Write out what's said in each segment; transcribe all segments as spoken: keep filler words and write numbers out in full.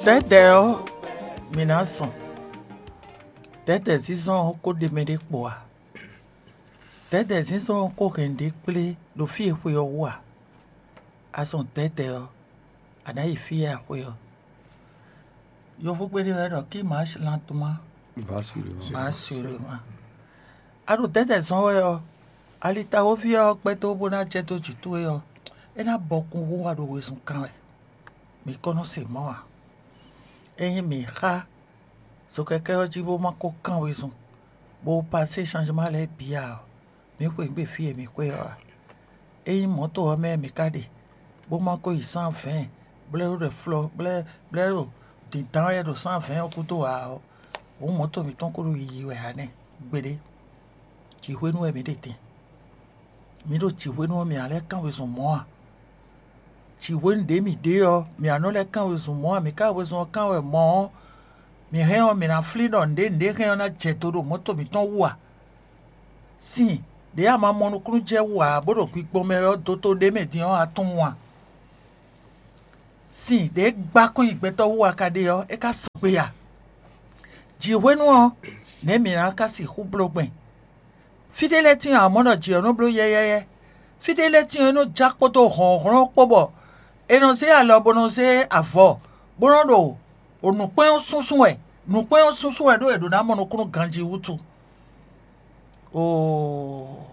Dɛ̌dɛ̌ ɔ́, mǐ ná zɔn. Dɛ̌dɛ̌ zínzɔ́n ɔ́ ko ɖe mɛ ɖé kpo ǎ. Dɛ̌dɛ̌ zínzɔ́n ɔ́ ko hɛn nǔɖé kplé ɖo fí e xwe ɔ́ wú ǎ. A zɔn dɛ̌dɛ̌ ɔ́, a nǎ yi fí e a xwe ɔ́. Yovógbé ɖé wɛ ɖɔ: "Qui marche lentement, va sûrement." Va sûrement. A ɖo dɛ̌dɛ̌ zɔn wɛ ɔ́, alitawóví ɔ́ gbɛ́ dó bó ná jɛ dó jǐ towe ɔ́, é ná bɔ kún hú wá ɖo wezun kan wɛ. Mǐ kɔn nɔ se mɔ̌ ǎ. Ényí mǐ xá zokɛkɛ́ ɔ́ jí bó ma ko kán wezun, bó pasé changement lɛ́ɛ bǐ ǎ ɔ́, mǐ xweyǐgbe fí e mǐ xwe ɔ́ ǎ. Ényí mɔ̌to ɔ́ mɛ mǐ ka ɖe, bó ma ko yi cent vingt, blɛ́ ɖo ɖɛ flɔ́, blɛ́ blɛ́ ɖo dǐndán wɛ ɖo cent vingt ɔ́ gúdo ǎ ɔ́, hǔn mɔ̌to mǐtɔn ko ɖo yiyi wɛ ǎ nɛ́ gbeɖé. Jǐ hwenu wɛ mǐ ɖe din. Mǐ ɖo jǐ hwenu ɔ́, mǐ ná lɛ́ kán wezun mɔ̌ a? Jǐ hwenu ɖě mǐ ɖe ɔ́, mǐ ná nɔ lɛ́ kán wezun mɔ̌ a? Mǐ ka wezun ɔ́ kán wɛ mɔ̌ ɔ́, mǐ hɛn ɔ́, mǐ ná flín ɖɔ nǔɖé nǔɖé hɛn ɔ́ ná jɛ do ɖo mɔ̌to mǐtɔn wú a? Sin ɖě a ma mɔ nukúnnú jɛ wú ǎ, bó ɖo gbigbɔn mɛ wɛ ɔ́, doto ɖé mɛ din ɔ́, a tunwun a? Sin ɖě gbá kɔn nyi gbɛtɔ́ wú a ka ɖe ɔ́, é ka sɔgbe a? Jǐ hwenu ɔ́, nɛ̌ mǐ ná ka sixú bló gbɛn? Fí ɖé lɛ́ɛ tíin ǎ, mɔ̌ ɖɔ jǐ ɔ́ nɔ bló yɛ́yɛ́yɛ́. Fí ɖé lɛ́ɛ tíin ɔ́, é nɔ já kpódó hlɔ̌nhlɔ́n kpó bɔ è nɔ zé alɔ bó nɔ zé avɔ, bó nɔ ɖo nǔkpɛ́n ɔ́ súnsún wɛ. Nǔkpɛ́n ɔ́ súnsún wɛ ɖó è ɖǒ ná mɔ nukúnnú ganjí wútu. Oo,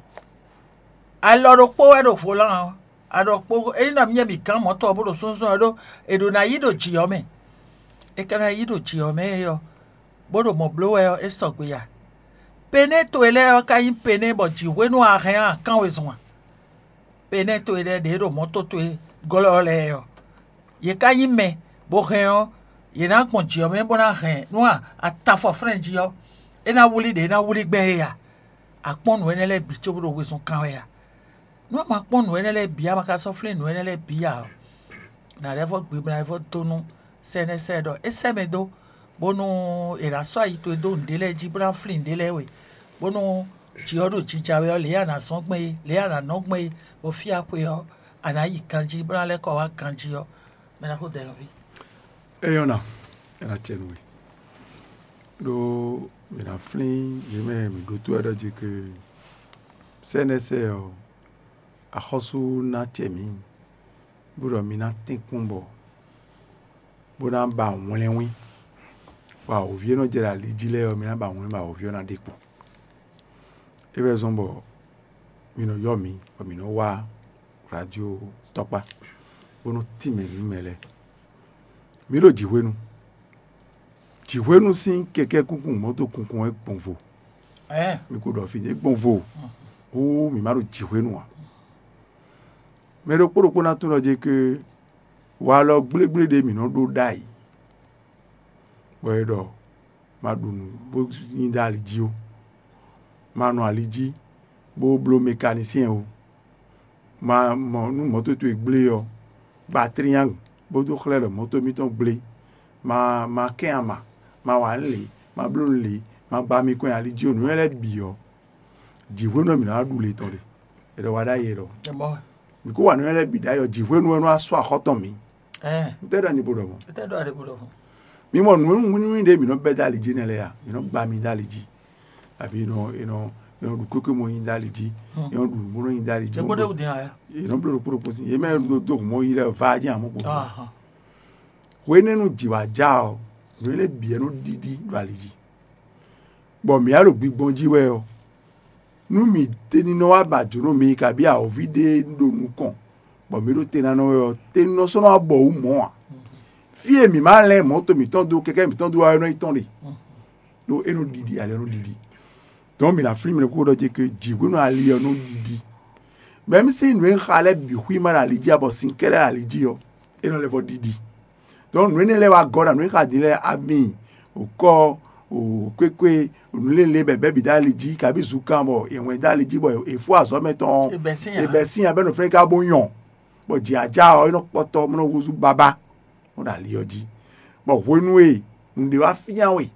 alɔ ɖokpó wɛ ɖo volán ɔ́, alɔ kpó ényí ɖɔ mì nyɛ mǐ gán mɔ̌tɔn ɔ́ bó ɖo súnsún ɔ́ ɖó è ɖǒ ná yí ɖo jǐ ɔ́ mɛ. È ka ná yí ɖo jǐ ɔ́ mɛ é ɔ́, bó ɖo mɔ̌ bló wɛ ɔ́, é sɔgbe ya. Penɛ́ towe lɛ́ɛ ɔ́ ka nyí penɛ́ bɔ jǐ hwenu a hɛn a kán wezun a? Penɛ́ towe lɛ́ɛ ɖě ɖo mɔ̌to towe glɔ́ lɛ́ɛ ɔ́, yě ka nyí mɛ, bó hɛn ɔ́, yě ná gbɔn jǐ ɔ́ mɛ bó ná hɛn nú atafɔflɛ́n jí ɔ́, é ná wlí ɖě é ná wlí gbɛn é a? A kpɔ́n nǔ énɛ́ lɛ́ɛ bǐ cóbó ɖo wezun kan wɛ a? Nú a ma kpɔ́n nǔ énɛ́ lɛ́ɛ bǐ, a ma ka sɔ́ flín nǔ énɛ́ lɛ́ɛ bǐ ǎ ɔ́, nǎ lɛ́ vɔ́ gbibla vɔ́ dó nú sɛ́nɛ́sɛ́ ɖɔ é sɛ́ mɛ dó, bónú è nǎ sɔ́ ayi towe dó nǔɖé lɛ́ɛ jí bó ná flín nǔɖé lɛ́ɛ we, bónú jǐ ɔ́ ɖo jija wɛ ɔ́, lě e a nǎ zɔ́n gbɛn é, lě e a nǎ nɔ gbɛn é, bɔ fí e a xwe ɔ́, a nǎ yi ganjí bó ná lɛ́ kɔ wá ganjí ɔ́, mɛ ná xo dɛ nɔví. É nyɔ́ ná, é ná cɛ nú we. Ɖó mǐ ná flín yě mɛ mǐ ɖótó wɛ ɖɔ jí ke sɛ́nɛ́sɛ́ ɔ́, axɔ́sú ná cɛ mǐ, bó ɖɔ mi ná tɛ́nkpɔ́n bɔ bó ná ba wlɛ́nwín, bɔ awǒvi e nɔ jɛ ɖo ali jí lɛ́ɛ ɔ́, mi ná ba wlɛ́n bɔ awǒvi ɔ́ ná ɖe kpo. É wɛ zɔ́n bɔ mi nɔ ylɔ́ mǐ, bɔ mǐ nɔ wá radio tɔkpá, bó nɔ tínmɛ nǔ mɛ lɛ́ɛ. Mǐ ɖo jǐhwenu. Jǐhwenu sín kɛkɛ́ kunkun mɔ̌to kunkun wɛ gbɔn vo. Ɛɛ, Mi ko ɖɔ fí é gbɔn vo. Hú mǐ ma ɖo jǐhwenu ǎ. Mɛ ɖokpó ɖokpó ná tunwun ɖɔ jɛ ke walɔ gblégblé ɖé mǐ nɔ ɖó ɖ'ayǐ, bɔ é ɖɔ ma ɖu nǔ bó nyi dó ali jí ó, ma nɔ ali jí bó bló mɛkanisɛ́n ó, ma mɔ nú mɔ̌to towe gblé ɔ́, ba triangle bó dó xlɛ́ ɖɔ mɔ̌to mitɔn gblé, ma ma kɛn ama, ma wa nǔ lě, ma bló nǔ lě, ma gba mi kɔn nyi ali jí ó, nǔ énɛ́ lɛ́ɛ bǐ ɔ́, jǐhwenu ɔ́ mǐ ná wá ɖu le tɔn ɖe. È ɖɔ wa ɖ'ayǐ è ɖɔ. Ɛ mɔ wɛ. Mǐ kó wa nǔ énɛ́ lɛ́ɛ bǐ ɖ'ayǐ ɔ́, jǐhwenu ɔ́ nɔ wá sú axɔ́ tɔn mǐ. Ɛɛ, Ntɛ́ ɖɔ ni bo ɖɔ mɔ̌? Ete ɖɔ ɖe bo ɖɔ mɔ̌. Mí mɔ nǔ nǔnywí ɖé mǐ nɔ bɛ́ dó ali jí nɛ́ lɛ́ɛ a? Mǐ nɔ gba mi dó ali jí, abǐ è nɔ è nɔ è nɔ ɖu kwékwe mɔ nyi dó ali jí, è nɔ ɖu nǔgbó nɔ nyi dó ali jí. Jɛ kó ɖe wǔ dín aya. È nɔ bló ɖokpó ɖokpó sín. Yě mɛ ɖo dó hǔn mɔ yi lɛ́ɛ va jí amɔ̌ kpo. Ahan. Hwenɛ́nu jǐ wá já ɔ́, nǔ énɛ́ bǐ wɛ nɔ ɖiɖi ɖo ali jí, bɔ mǐ wá ɖo gbigbɔn jí wɛ ɔ́, nú mǐ ní nɔ wá ba jǒnɔ mi kabí awǒvi ɖé ɖo nukɔn, bɔ mǐ ɖo te ná nɔ wɛ ɔ́, te nɔ sɔ́ nɔ wá bɔ wǔ mɔ̌ ǎ. Fí e mǐ ma lɛ́n mɔ̌to mǐtɔn dó kɛkɛ́ mǐtɔn dó wá ɔ́, é nɔ nyí tɔn ɖe, ɖó é nɔ ɖiɖi, ali ɔ́ nɔ ɖiɖi. Dɔ̌n mǐ ná flín mɛ ɖokpó ɖɔ ce ke jǐ hwenu ali ɔ́ nɔ ɖiɖi. Mɛ̌ mí sín nǔ e xa lɛ́ɛ bǐ xwí ma ɖo ali jí ǎ, bɔ sin kɛ́ɖɛ́ ɖo ali jí ɔ́, é nɔ lɛ́ vɔ ɖiɖi. Dɔ̌n nǔ énɛ́ lɛ́ɛ wá gɔ́ ɖo nǔ e xa din lɛ́ɛ, ami, wǒkɔ, kwékwe, nǔ lélé bɛ̌bɛ́ bǐ dó ali jí, kabí zunkan bɔ è wɛn dó ali jí bɔ è fó azɔ̌ mɛtɔn ɔ́, È bɛ̌ sín ǎ. È bɛ̌ sín ǎ bɔ é nɔ flɛ́n ká bó nyɔ, bɔ jǐ ajá ɔ́, é nɔ kpɔ́tɔ́, bó nɔ húzú babá, bó ɖo ali ɔ́ jí. Bɔ hwenu e nǔɖé wá fyán we,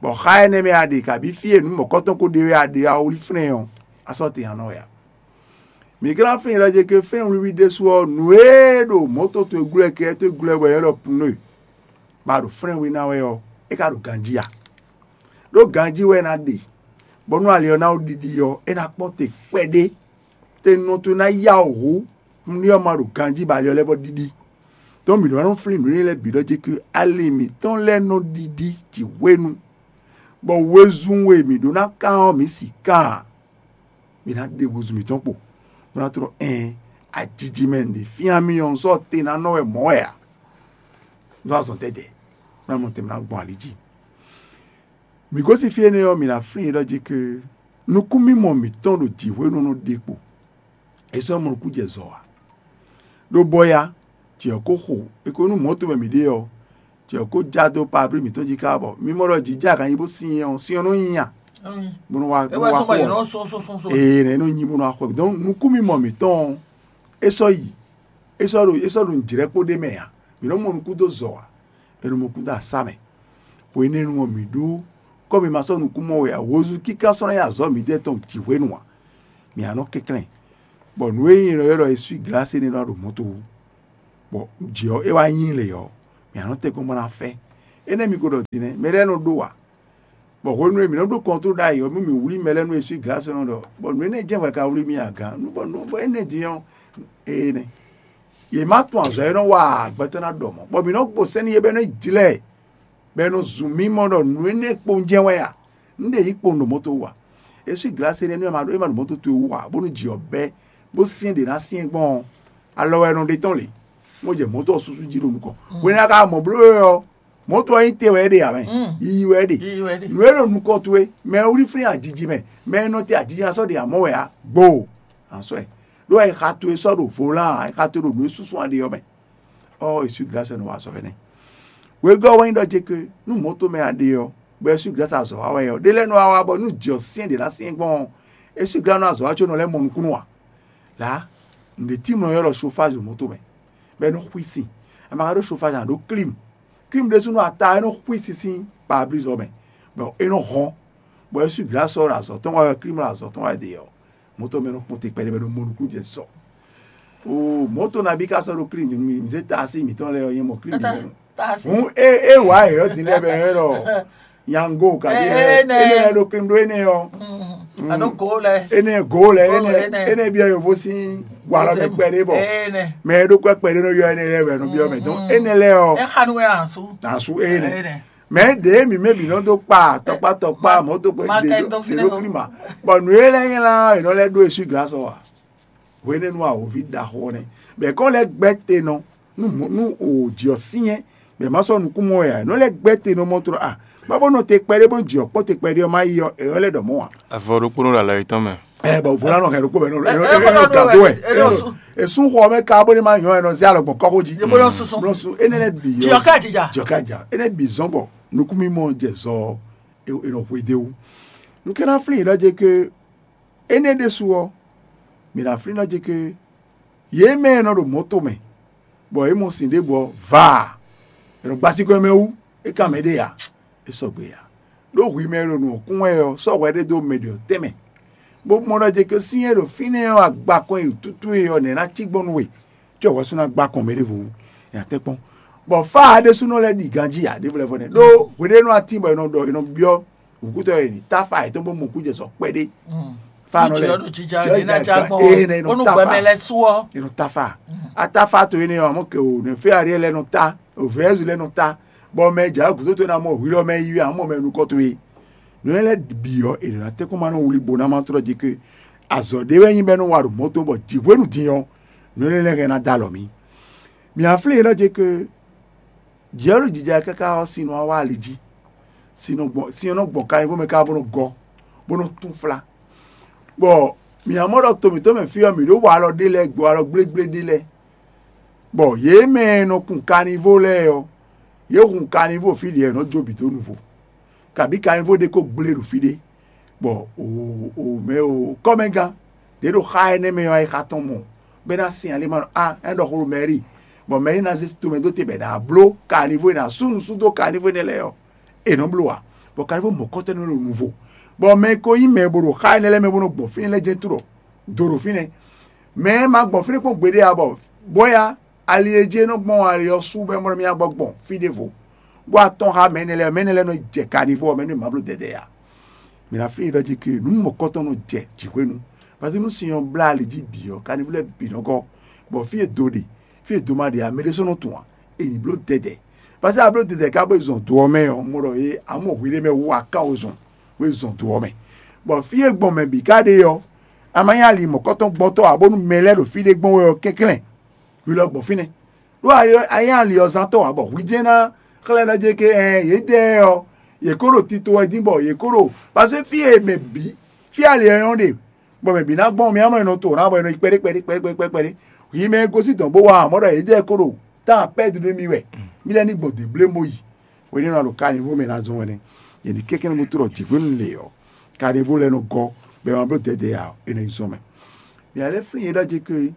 bɔ xá énɛ́ mɛ a ɖe, kabí fí e nǔ mɔ̌kɔtɔn ko ɖe wɛ a ɖe, a wlí flɛ́n ɔ́, a sɔ́ te a nɔ wɛ ǎ. Mǐ ka ná flín ɖɔ ce ke fɛ́n wiwi ɖésú ɔ́, nǔ e ɖo mɔ̌to towe glɔ́ kɛ towe glɔ́ wɛ é ɖɔ pneu. bɔ a ɖo flɛ́n we ná wɛ ɔ́, é ka ɖo ganjí a? Ɖó ganjí wɛ é ná ɖe, bɔ nú ali ɔ́ ná ɖiɖi ɔ́, é ná kpɔ́n te kpɛɖé. Te nɔ towe ná yá wǔ hú, nú ɔ́ ma ɖo ganjí bɔ ali ɔ́ lɛ́ vɔ ɖiɖi. Tɔn mǐ ɖó ná nɔ flín nǔ énɛ́ lɛ́ɛ bǐ ɖɔ jí ké ali mǐtɔn lɛ́ɛ nɔ ɖiɖi jǐ hwenu, bɔ wezun e mǐ ɖó ná kán ɔ́, mǐ si kán ǎ. Mǐ ná ɖe húzú mǐtɔn kpo, bó ná tlɔ́ ɛn ajiji mɛ ɖě fyán mì ɔ́, un sɔ́ te ná nɔ wɛ mɔ̌ wɛ ǎ. Nú azɔn tɛ́tɛ́, bó ná mɔ tɛn bó ná gbɔn ali jí. Mǐ gosín fí énɛ́ ɔ́, mǐ ná flín ɖɔ jí ké nukúnmimɔ mǐtɔn ɖo jǐ hwenu nɔ ɖe kpo. É sɔ́ mɔ nukún jɛ zɔ ǎ. Ɖó bɔ ya, jǐ ɔ́ ko xo, é ko nú mɔ̌ tɔn mɛ mǐ ɖe ɔ́, jǐ ɔ́ ko já dó pablí mǐtɔn jí ká bɔ mí mɔ ɖɔ jǐ jɛ aganyi bó sin ɔ́, sin ɔ́ nɔ nyi nya, bó nɔ wá bó nɔ wá xo ɔ́. Ee, nɛ é nɔ nyi bó nɔ wá xo ɛ. Donc nukúnmimɔ mǐtɔn ɔ́, é sɔ́ yi, é sɔ́ ɖo é sɔ́ ɖo nǔjlɛ́kpo ɖé mɛ ǎ. Mǐ nɔ mɔ nukún dó zɔ ǎ. È nɔ mɔ nukún dó asá mɛ. Xwe énɛ́ nu ɔ́, mǐ ɖó kɔ́ mǐ ma sɔ́ nukún mɔ wɛ ǎ. Hozú kíká sɔ́ ná nyí azɔ̌ mǐdɛɛ tɔn jǐ hwenu ǎ. Mǐ ná nɔ kɛnklɛ́n, bɔ nǔ e nyí è nɔ ylɔ́ ɖɔ eswí glǎsi énɛ́ ná ɖo mɔ̌ to wú, bɔ jǐ ɔ́ é wá nyí lě ɔ́, mǐ ná nɔ tɛ́nkpɔ́n bó ná fɛ́. Énɛ́ mi ko ɖɔ din nɛ́, mɛ lɛ́ɛ nɔ ɖó wa, bɔ hwenu e mǐ nɔ ɖó kɔntlól ɖ'ayǐ ɔ́, mú mǐ wlí mɛ lɛ́ɛ nú eswí glǎsi ɔ́ ɖɔ, bɔ nǔ énɛ́ jɛ́n hwɛ ka wlí mì aga, nú bɔ nǔ bɔ énɛ́ din ɔ́, ee nɛ́. Yě má tunwun azɔ̌ e nɔ wa gbɛtɔ́ ná ɖɔ mɔ̌, bɔ mǐ nɔ gbo sɛ́n n'i é bɛ́ nɔ jlɛ́ ɛ, bɔ è nɔ zun mì mɔ ɖɔ nǔ énɛ́ kpowun jɛ́n wɛ a? Un ɖe yǐ kpowun ɖo mɔ̌ towe wú a? Eswí glǎsi énɛ́ nú é ma ɖo é ma ɖo mɔ̌ towe wú a, bónú jǐ ɔ́ bɛ́, bó syɛ́n ɖě ná syɛ́n gbɔn ɔ́, alɔ wɛ è nɔ ɖe tɔ́n lě, bó jɛ mɔ̌ tɔn ɔ́ súsú jí ɖo nukɔn. Hwenu e a ka mɔ bló é ɔ́, mɔ̌ tɔn ɔ́ nyí te wɛ é ɖe ǎ mɛ, yiyi wɛ é ɖe. Nǔ e ɖo nukɔn towe, mɛ e wlí flín ajiji mɛ, mɛ e nɔ te ajiji ná sɔ́ ɖe amɔ̌ wɛ ǎ, gbo, a sɔ́ ɛ. Ɖó ayixa towe sɔ́ ɖo volan ǎ, ayixa towe ɖo nǔ e súnsún a ɖe ɔ́ mɛ. Ɔ́, eswí glǎsi nɔ wa azɔ̌ énɛ́. Wegɔ́ wɛ nyí ɖɔ jeke nú mɔ̌ tomɛ a ɖe ɔ́, bɔ eswí glǎsi azɔ̌ wa wɛ ɔ́, ɖé lɛ́ɛ nɔ wá wá bɔ nú jǐ ɔ́ syɛ́n ɖě ná syɛ́n gbɔn ɔ́, eswí glǎsi nɔ azɔ̌ wa có nɔ lɛ́ mɔ nukúnnú ǎ. Lǎ, nǔɖé tímɔ ɔ́ ylɔ́ ɖɔ chauffage ɖo mɔ̌ tomɛ, bɔ é nɔ xwí sin. A ma ka ɖó chauffage ǎ, ɖó clim. Clim ɖésúnɔ ata é nɔ xwí sin sín pare-brise ɔ́ mɛ, bɔ é nɔ hɔn, bɔ eswí glǎsi ɔ́ ɖo azɔ̌ tɔn wa wɛ, clim ɖo azɔ̌ tɔn wa wɛ ɖe ɔ́, mɔ̌ tɔn mɛ nɔ kpɔ́n te kpɛɖé bɔ é nɔ mɔ nukún jɛ sɔ. Oo, mɔ̌ tɔn nabí ka sɔ́ ɖo klín din nú mì, mǐ zé taasi mǐtɔn lɛ́ɛ ɔ́ nyɛ mɔ klín din nú. Hǔn é é wǎ yě ɔ́ din lɛ́ɛ bɔ é ɖɔ nyango kaɖi Ɛ- ɛ- ɛnɛ. Énɛ́ lɛ́ɛ ɖo klín ɖó énɛ́ ɔ́. Alo go lɛ. Énɛ́ go lɛ Go énɛ́ lɛ énɛ́. Énɛ́ byɔ́ yǒfó sín walɔ mɛ kpɛɖé bɔ ɛnɛ. Mɛ e ɖó kɔ kpɛɖé nɔ yɔ énɛ́ lɛ́ɛ wɛ nɔ byɔ́ mɛ dɔn Mm. Énɛ́ lɛ́ɛ ɔ́ Ɛ xanu wɛ asu. Asu énɛ́. Ɛnɛ. Mɛ ɖě mǐ mɛ bǐ nɔ dó kpa tɔkpá tɔkpá Ma- mɔ̌ tó kpe ma ɖe kɛ ɖó dó fínɛ́ ɖó o. Klíma. Bɔ nǔ e lɛ́ nylá è nɔ lɛ́ ɖó eswí glasɔ a? Hwenɛ́nu awǒvi ɖaxó ɔ́ nɛ́, bɔ è kɔn lɛ́ gbɛ́ te nɔ nú mɔ̌- nú òjì ɔ́ syɛ́n, bɔ è má sɔ́ nukún mɔ wɛ ǎ. È nɔ lɛ́ gbɛ́ te nɔ mɔ tlɔ a? Má bó nɔ te kpɛɖé bó jǐ ɔ́ kpɔ́n te kpɛɖé ɔ́ má yi ɔ́, è nɔ lɛ́ ɖɔ mɔ̌ ǎ. Avɔ ɖokpónɔ ɖo alɔ yětɔn mɛ. Ɛ bɔ vo lánɔ hɛn ɖokpó bɛ nɔ Ɛ- ɛ- ɛ- ɛ- ɛ- gado wɛ ɛ- ɛ- esún xɔ mɛ ka bó ní ma nyɔ ɛ nɔ zé alɔ gbɔn kɔxó jí. Yebo lɔ susu. Blɔsu énɛ́ lɛ bǐ Jìyɔ ká jìjà. Jìyɔ ká jà énɛ́ bǐ zɔn bɔ nukúnmimɔ jɛ zɔ ɔ, è è nɔ hwe dé wú. Un kɛ ná flín yě ɖɔ jɛ ke énɛ́ ɖésú ɔ́, mǐ ná flín ɖɔ jɛ ke yě mɛ e nɔ ɖo mɔ̌ tomɛ, bɔ yě mɔ sin ɖěbǔ ɔ́, vaa, è nɔ gbasíkɔ mɛ wú, é kan mɛ ɖé ǎ, é sɔgbe ǎ. Ɖó hwi mɛ e ɖo nǔ ɔ́ kún wɛ ɔ́, sɔ́ hwɛ ɖé dó mɛ ɖě ɔ́ tɛnmɛ, bó mɔ ɖɔ jɛ ke sín e ɖo fínɛ́ ɔ́, agbakɔn e tútú e ɔ́, nɛ̌ ná cí gbɔn nú we? Có hwɛ sú ná gbá kɔn mɛ ɖěvo wú, è nǎ tɛ́ kpɔ́n. Bɔ fá ǎ ɖésúnɔ lɛ́ɛ ɖi ganjí ǎ ɖěvo lɛ́ɛ vɔ nɛ́. Ɖó hweɖénu atín bɔ è nɔ ɖɔ è nɔ byɔ́ wǔkútɔ́ e ní táfa yětɔn bó mɔ kú jɛ sɔ kpɛɖé. Fá nɔ lɛ́ɛ Jɔ ɖo jija jɔ ɖe ná jija já gbɔn ee nɛ è nɔ bónú táfa gbɛmɛ lɛ sú ɔ́. È nɔ táfa. Atáfa to énɛ́ ɔ́, amɔ̌ kɛ o nɛ fé aɖé lɛ́ɛ nɔ tá, o vɛ̌ɛ́zu lɛ́ɛ nɔ tá, bɔ mɛ e jǎ gǔdo towe ná mɔ hwi lɔ mɛ yi wɛ amɔ̌ mɛ nukɔn towe. Nǔ énɛ́ lɛ́ɛ bǐ ɔ́, è nǎ tɛ́nkpɔ́n ma nɔ wlí bo ná ma tlɔ́ jí ké. Azɔ̌ ɖé wɛ nyí bɔ é nɔ wa ɖo mɔ̌ tɔn bɔ jǐ hwenu din ɔ́, nǔ énɛ́ lɛ́ɛ hɛn ná dó alɔ mì. Mǐ á flín yě nɔ jɛ ke jǐ ɔ́ ɖo jija káká ɔ́, sin nɔ wá wá ali jí. Sin nɔ gbɔn sin ɔ́ nɔ gbɔn kanyivo mɛ káká bó nɔ gɔ́, bó nɔ túnflá. Bɔ mǐ á mɔ ɖɔ to mǐtɔn mɛ fí ɔ́, mǐ ɖó wa alɔ ɖé lɛ́ɛ, gbo alɔ gblégblé ɖé lɛ́ɛ. Bɔ yě mɛ e nɔ kun kanyivo lɛ́ɛ ɔ́, yě hun kanyivo fí ɖě ɔ́, è nɔ jó bǐ dó nuvo. Kabǐ kanyivo ɖé ko gblé ɖo fí ɖé, bɔ o o mɛ o kɔ́mɛgán ɖě ɖo xá énɛ́ mɛ ɔ́, wá yi xá tɔn mɔ, bɔ é ná sin ali ma ɖɔ a é ɖɔ xó ɖo mɛ̌ri, bɔ mɛ̌ri ná zé tomɛ dó te bɔ è nǎ bló kanyivo e è nǎ sú nǔ sú dó kanyivo énɛ́ lɛ́ɛ ɔ́, è nɔ bló ǎ. Bɔ kanyivo mɔ̌kɔtɔ́ nɔ ɖo nuvo, bɔ mɛ e ko nyí mɛ e bo ɖo xá énɛ́ lɛ́ɛ mɛ bó nɔ gbɔn fínɛ́ lɛ́ɛ jɛ́n tlɔ do ɖo fínɛ́. Mɛ e ma gbɔn fínɛ́ kpɔ́n gbeɖé ǎ, bɔ bɔ́ ya ali e jí é nɔ gbɔn ali ɔ́ sú bɔ é mɔ nɔ mì gbɔ gbɔn fí ɖěvo. bó wá tɔ́n xá mɛ énɛ́ lɛ́ɛ, mɛ énɛ́ lɛ́ɛ nɔ jɛ kanivó ɔ́ mɛ nú è má bló dɛdɛ ǎ. Mǐ ná flín yě ɖɔ jí ke nǔ mɔ̌kɔtɔn nɔ jɛ jǐxwé nu, paseke nú sin ɔ́ blá ali jí bǐ ɔ́, kanivó lɛ́ɛ bǐ nɔ gɔ́, bɔ fí e do ɖe, fí e do ma ɖe ǎ, mɛ ɖé sɔ́ nɔ tunwun ǎ, è nǐ bló dɛdɛ. Paseke a bló dɛdɛ ká bó yi zɔn do ɔ́ mɛ ɔ́, un mɔ ɖɔ é, a mɔ hwi ɖé mɛ wú aká ozɔn bó yi zɔn do ɔ́ mɛ. Bɔ fí e gbɔn mɛ bǐ ká ɖe ɔ́, a ma nyí ali mɔ̌kɔtɔn gbɔntɔ́ ǎ, bónú mɛ lɛ́ɛ ɖo fí ɖé gbɔn wɛ ɔ́ kɛnklɛ́n, hwi lɔ gbɔn fínɛ́. Ɖó a nyí ali ɔ́ zán tɔn ǎ, bɔ hwi jɛ́n ná xlɛ́ ɖɔ jɛ ke ɛn yědɛɛ ɔ́, yě kó ɖo tito wɛ dín bɔ yě kó ɖo, paseke fí e mɛ bǐ, fí ali ɔ́ nyɔ́ ɖe, bɔ mɛ bǐ ná gbɔn mì amlɔ nɔ to ná bɔ è nɔ yi kpɛɖé kpɛɖé kpɛɖé kpɛɖé kpɛɖé. Yi mɛ e gosín dɔ̌n bó wá ǎ, mɔ̌ ɖɔ yědɛɛ kó ɖo tán pɛ́du nú mì wɛ, mì lɛ́ ní gbɔn dě blé bó yi. Hwenɛ́nu a ɖo kanivo mɛ ná zɔn wɛ nɛ́, yě ní kɛ́kɛ́nɛ́ bó tlɔ jǐxwénu lě ɔ́, kanivo lɛ́ɛ nɔ gɔ́, bɔ è ma bló dɛdɛ ǎ, è nɔ yi zɔn mɛ. Mǐ lɛ́ flín yě ɖɔ jɛ ke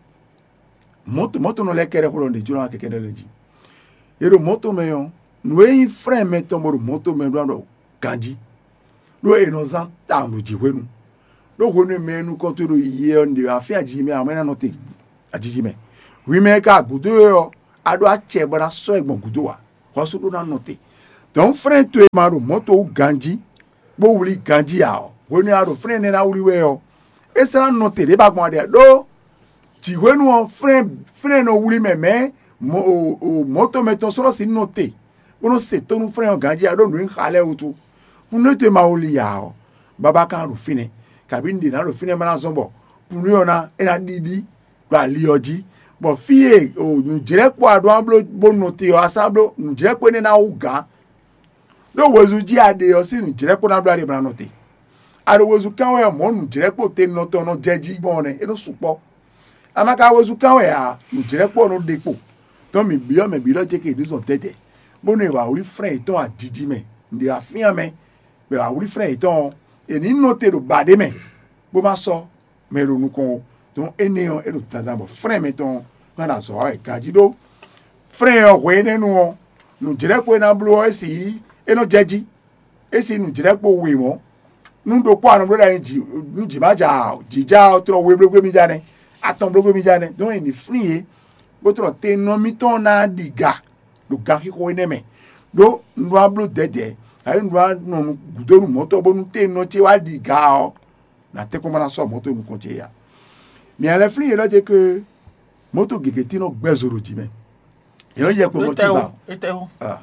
mɔ̌to mɔ̌tonɔ lɛ́ɛ kɛ́ɖɛ́ xó ɖɔ nǔɖé jló ná kɛkɛ́ ɖɔ lɛ́ɛ jí. È ɖo mɔ̌to mɛ ɔ́, nǔ e nyí frɛ́n mɛtɔn bɔ ɖo mɔ̌to mɛ ɖó ná ɖɔ ganjí, ɖó è nɔ zán tawun ɖo jǐxwénu. Ɖó hwenu e mɛ e nukɔn towe ɖo yiyi ɔ́, un ɖe afí ajiji mɛ, amɔ̌ é ná nɔ te ajiji mɛ. Hwi mɛ e ka gǔdo é ɔ́, a ɖó acɛ bɔ ná sɔ́ ɛ gbɔn gǔdo ǎ, hwɛ̌ sú ɖó ná nɔ te. Dɔ̌n frɛ́n towe ma ɖo mɔ̌to wú ganjí, bó wlí ganjí ǎ ɔ́, hwenu e a ɖo frɛ́n énɛ́ ná wlí wɛ ɔ́, é sɔ́ ná nɔ te ɖě ba gbɔn a ɖe ǎ. Ɖó jǐxwénu ɔ́, frɛ́n frɛ́n nɔ wlí mɛ mɛ̌ mɔ̌ o o mɔ̌to mɛtɔn sɔ́ nɔ sixú nɔ te, bó nɔ́ se tónú frɛ́n ɔ́ ganjí ǎ ɖó nǔ e xa lɛ́ɛ wútu. Nú é to e ma wlí ǎ ɔ́, babá ka ɖo fínɛ́, kabǐ un ɖe nǎ ɖo fínɛ́ ma ná zɔ́n bɔ kúnnu ɔ́ ná é ná ɖiɖi ɖo ali ɔ́ jí, bɔ fí e nǔjlɛ́kpɔ́ a ɖó ná bló bó nɔ te ɔ́, a sɔ́ ná bló nǔjlɛ́kpɔ́ énɛ́ ná wú gǎn. Ɖó hwezu jí a ɖe ɔ́ sín nǔjlɛ́kpɔ́ ná bló a ɖe bó ná nɔ te. A ɖo hwezu kán wɛ ɔ́, mɔ̌ nǔjlɛ́kpɔ́ tenɔ tɔn nɔ jɛ jí gbɔn ɔ́ nɛ́, é nɔ sukpɔ́. A ma ka hwezu kán wɛ ǎ, nǔjlɛ́kpɔ́ ɔ́ nɔ ɖe kpo. Tɔn mǐ byɔ́ mɛ bǐ ɖɔ jɛ ke ɖǐ zɔn tɛ́tɛ́, bónú è wǎ wlí frɛ́n yětɔn ajiji mɛ, nǔɖé wá fyán mɛ, bɔ è wǎ wlí frɛ́n yětɔn ɔ́, è nǐ nɔ te ɖo ba ɖé mɛ, bó má sɔ́ mɛ e ɖo nukɔn ó. Dɔn énɛ́ ɔ́, é ɖo dandan bɔ frɛ́n mɛtɔn ɔ́ ná ɖo azɔ̌ wa wɛ ganjí ɖó. Frɛ́n ɔ́ hwe énɛ́ nu ɔ́, nǔjlɛ́kpo e ná bló ɔ́, é sixú é nɔ jɛ jí. É sín nǔjlɛ́kpo we mɔ̌. Nú ɖokpó a nɔ bló ɖo anyi jǐ nú jǐ ma ja ǎ, jǐ ja ɔ́, tlɔ we blógbé mì ja nɛ́, atɔn blógbé mì ja nɛ́. Dɔn è nǐ flín yě, bó tlɔ tenɔ mítɔn ná ɖi ga ɖo ganxixo énɛ́ mɛ, ɖó un ɖó ná bló dɛ̌dɛ̌, ǎ un ɖó ná nɔ gǔdo nú mɔ̌tɔn bónú tenɔ ce wá ɖi ga ɔ́, nǎ tɛ́nkpɔ́n ma ná sɔ́ mɔ̌ dó nukɔn ce ǎ. Mǐ lɛ́ flín yě ɖɔ ce ke mɔ̌to gěgé tín nɔ gbɛ́ zo ɖo jǐ mɛ. Yě nɔ yɛ kpo mɔ Etɛ́wú, tibá. Etɛ́wú. Ah.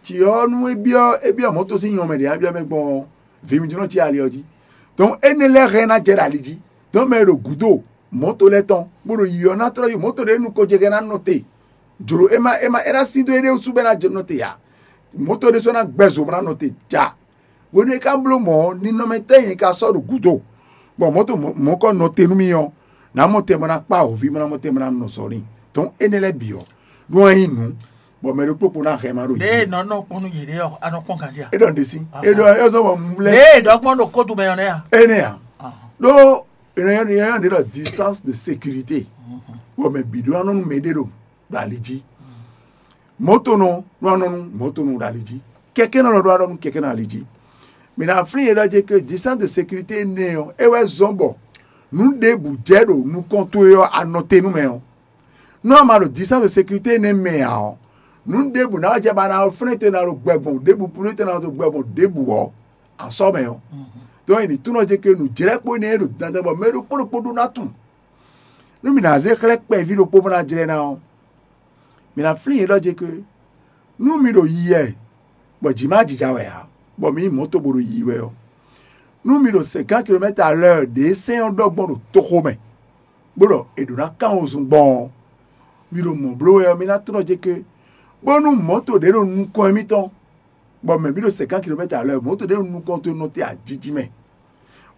Tsi ɔ́, nú é byɔ́ é byɔ́ mɔ̌to sín nyɔmɛ ɖě byɔ́ mɛ gbɔn ɔ́, vǐ mitɔn nɔ cí ali ɔ́ jí. Dɔn énɛ́ lɛ́ɛ hɛn ná jɛ ɖo ali jí. Dɔn mɛ e ɖo gǔdo mɔ̌to lɛ́ɛ tɔn, bó ɖo yiyi ɔ́ ná tlɔ́ yi mɔ̌to ɖě nukɔn jɛ hɛn ná nɔ te. Jlǒ é má é má é ná sín dó éɖée wútu bɔ é ná jɛ nɔ te ǎ. Mɔ̌to ɖé sɔ́ ná gbɛ́ zo bó ná nɔ te ja. Hwenu e ka bló mɔ̌ ɔ́, ninɔmɛtɔ́ e nyɛ ka sɔ́ ɖo gǔdo, bɔ mɔ̌ to mɔ̌kɔ nɔ te nú mì ɔ́, nǎ mɔ tɛn bɔ ná kpá awǒvi, bɔ ná mɔ tɛn bɔ ná nɔ zɔ n'i. Dɔn énɛ́ lɛ́ɛ bǐ ɔ́, ɖó wɛ nyí nǔ, bɔ mɛ ɖokpó kpo ná hɛn ma ɖo Ɖěe yě. Nɔ nɔ kpɔ́n nú yě ɖé ɔ́, a nɔ kpɔ́n ganjí a? É ɖɔ nǔɖé sí. Aha. É ɖɔ é zɔ́ bɔ un lɛ́ Ɖěe ɖɔ gbɔn ɖo kódu mɛ ɔ́ nɛ́ a? Énɛ́ ǎ. Aha. Ɖó ènɔ nyɔ́ ɖe ɖɔ distance de sécurité, bɔ mɛ bǐ ɖó ná nɔ nú mɛ ɖé ɖo ɖo ali jí. Mɔ̌tonɔ nɔ nɔ nú mɔ̌tonɔ ɖo ali jí. Kɛkɛ́nɔ lɔ ɖó alɔ nú kɛkɛ́nɔ ali jí. Mǐ ná flín yě ɖɔ jɛ ke distance de sécurité énɛ́ ɔ́, é wɛ zɔ́n bɔ nǔ ɖěbǔ jɛ ɖo nukɔn towe ɔ́, a nɔ te nú mɛ ɔ́. Nú a ma ɖo distance de sécurité énɛ́ mɛ ǎ ɔ́, nǔ ɖěbǔ ná wá jɛ ba ná flɛ́n te ná ɖo gbɛ gbɔn ɖěbǔ, plú te ná ɖo gbɛ gbɔn ɖěbǔ ɔ́, a sɔ́ mɛ ɔ́. Dɔn è nǐ túnɔ jɛ ke nǔjlɛ́kpo énɛ́ e ɖo dandan bɔ mɛ ɖokpó ɖokpó ɖó ná tunwun. Nú mǐ ná zé xlɛ́ kpɛví ɖokpó bó ná jlɛ́ ná ɔ́, mǐ ná flín yě ɖɔ jɛ ke nú mi ɖo yiyi wɛ, bɔ jǐ ma jija wɛ ǎ, bɔ mi nyí mɔ̌to bo ɖo yiyi wɛ ɔ́, nú mi ɖo cinquante kilomètres à l'heure ɖě sɛ́n ɔ́ ɖɔ gbɔn ɖo toxo mɛ, bó ɖɔ è ɖǒ ná kán wozun gbɔn ɔ́, mi ɖo mɔ̌ bló wɛ ɔ́, mi ná tlɔ́ jɛ ke, bónú mɔ̌to ɖě ɖo nukɔn émítɔn, bɔ mɛ bǐ ɖo cinquante kilomètres à l'heure, mɔ̌to ɖě ɖo nukɔn towe nɔ te ajiji mɛ.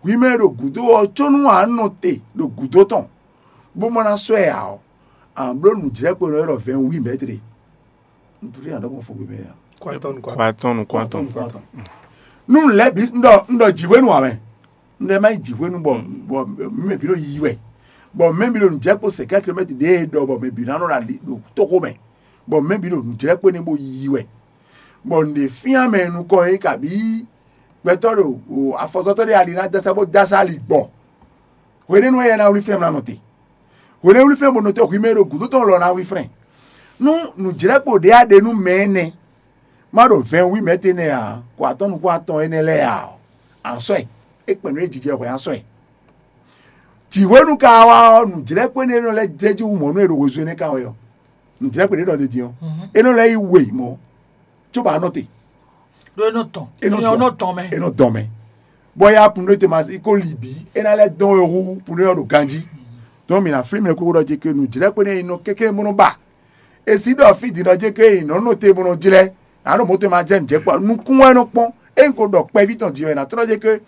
Hwi mɛ e ɖo gǔdo ɔ́, có nú a nɔ te ɖo gǔdo tɔn, bó ma ná sɔ́ ɛ ǎ ɔ́, a nǎ bló nǔjlɛ́kpo e nɔ ylɔ́ ɖɔ vingt-huit mètres. Un tunwun fí nǎ ɖɔ gbɔn fogbe mɛ ǎ. Kwatɔn nukɔn. Kwatɔn nukɔn. Nú un lɛ́ bǐ un ɖɔ un ɖɔ jǐxwénu ǎ mɛ. Un ɖɔ má nyí jǐxwénu bɔ bɔ mɛ bǐ ɖo yiyi wɛ. Bɔ mɛ bǐ ɖo nǔjlɛ́kpo cinquante kilomètres ɖěe ɖɔ bɔ mɛ bǐ ná nɔ ɖo ali ɖo tóxo mɛ. Bɔ mɛ bǐ ɖo nǔjlɛ́kpo énɛ́ bó yiyi wɛ. Bɔ nǔɖé fyán mɛ nukɔn é kabǐ gbɛtɔ́ ɖo afɔzɔtɔ́ ɖé ali ná dasa bó dasa ali gbɔ. Hwenɛ́nu wɛ yɛ ná wlí flɛ́n mlá nɔ te. Hwenɛ́nu wlí flɛ́n bó nɔ te hwi mɛ e ɖo gǔdo tɔn lɔ ná wlí flɛ́n. Nú nǔjlɛ́kpo ɖě a ɖe nú mɛ énɛ́, Má ɖo vɛn wí mɛ̌ tɛ́ nɛ́ ǎ, kɔ atɔ́ nukún atɔn énɛ́ lɛ́ɛ ǎ ɔ́, a nǎ sɔ́ ɛ. É kpɛn nǔ e jijɛ hwɛ a sɔ́ ɛ. Jǐhwenu ka wá ɔ́, nǔjlɛ́kpɛ́nɛ élɔ́ lɛ́ɛ jɛ jí wú mɔ̌ nú è ɖo hwezú énɛ́ ka wɛ ɔ́. Nǔjlɛ́kpɛ́nɛ ɖɔ ɖe din ɔ́, é nɔ lɛ́ yi we mɔ̌, cóbɔ a nɔ te. Ɖó é nɔ tɔn. É nɔ tɔn mɛ. É nɔ dɔn mɛ. Bɔ ya punu te ma ko li bǐ, é ná lɛ́ dɔn we hú punu ɔ́ ɖo ganjí. Dɔn mǐ ná flín mɛ kókó ɖɔ jí ke nǔjlɛ́kpɛ́nɛ e nɔ kéké bó nɔ ba. E sí ɖɔ fí din ɖɔ jí ke nɔ nɔ te bó nɔ jlɛ́, ǎ ɖo mɔ̌ te ma jɛ nǔjɛ kpɔ́. Nukún wɛ nɔ kpɔ́n. É un ko ɖɔ kpɛví tɔn din ɔ́, è nǎ tlɔ́ jí ke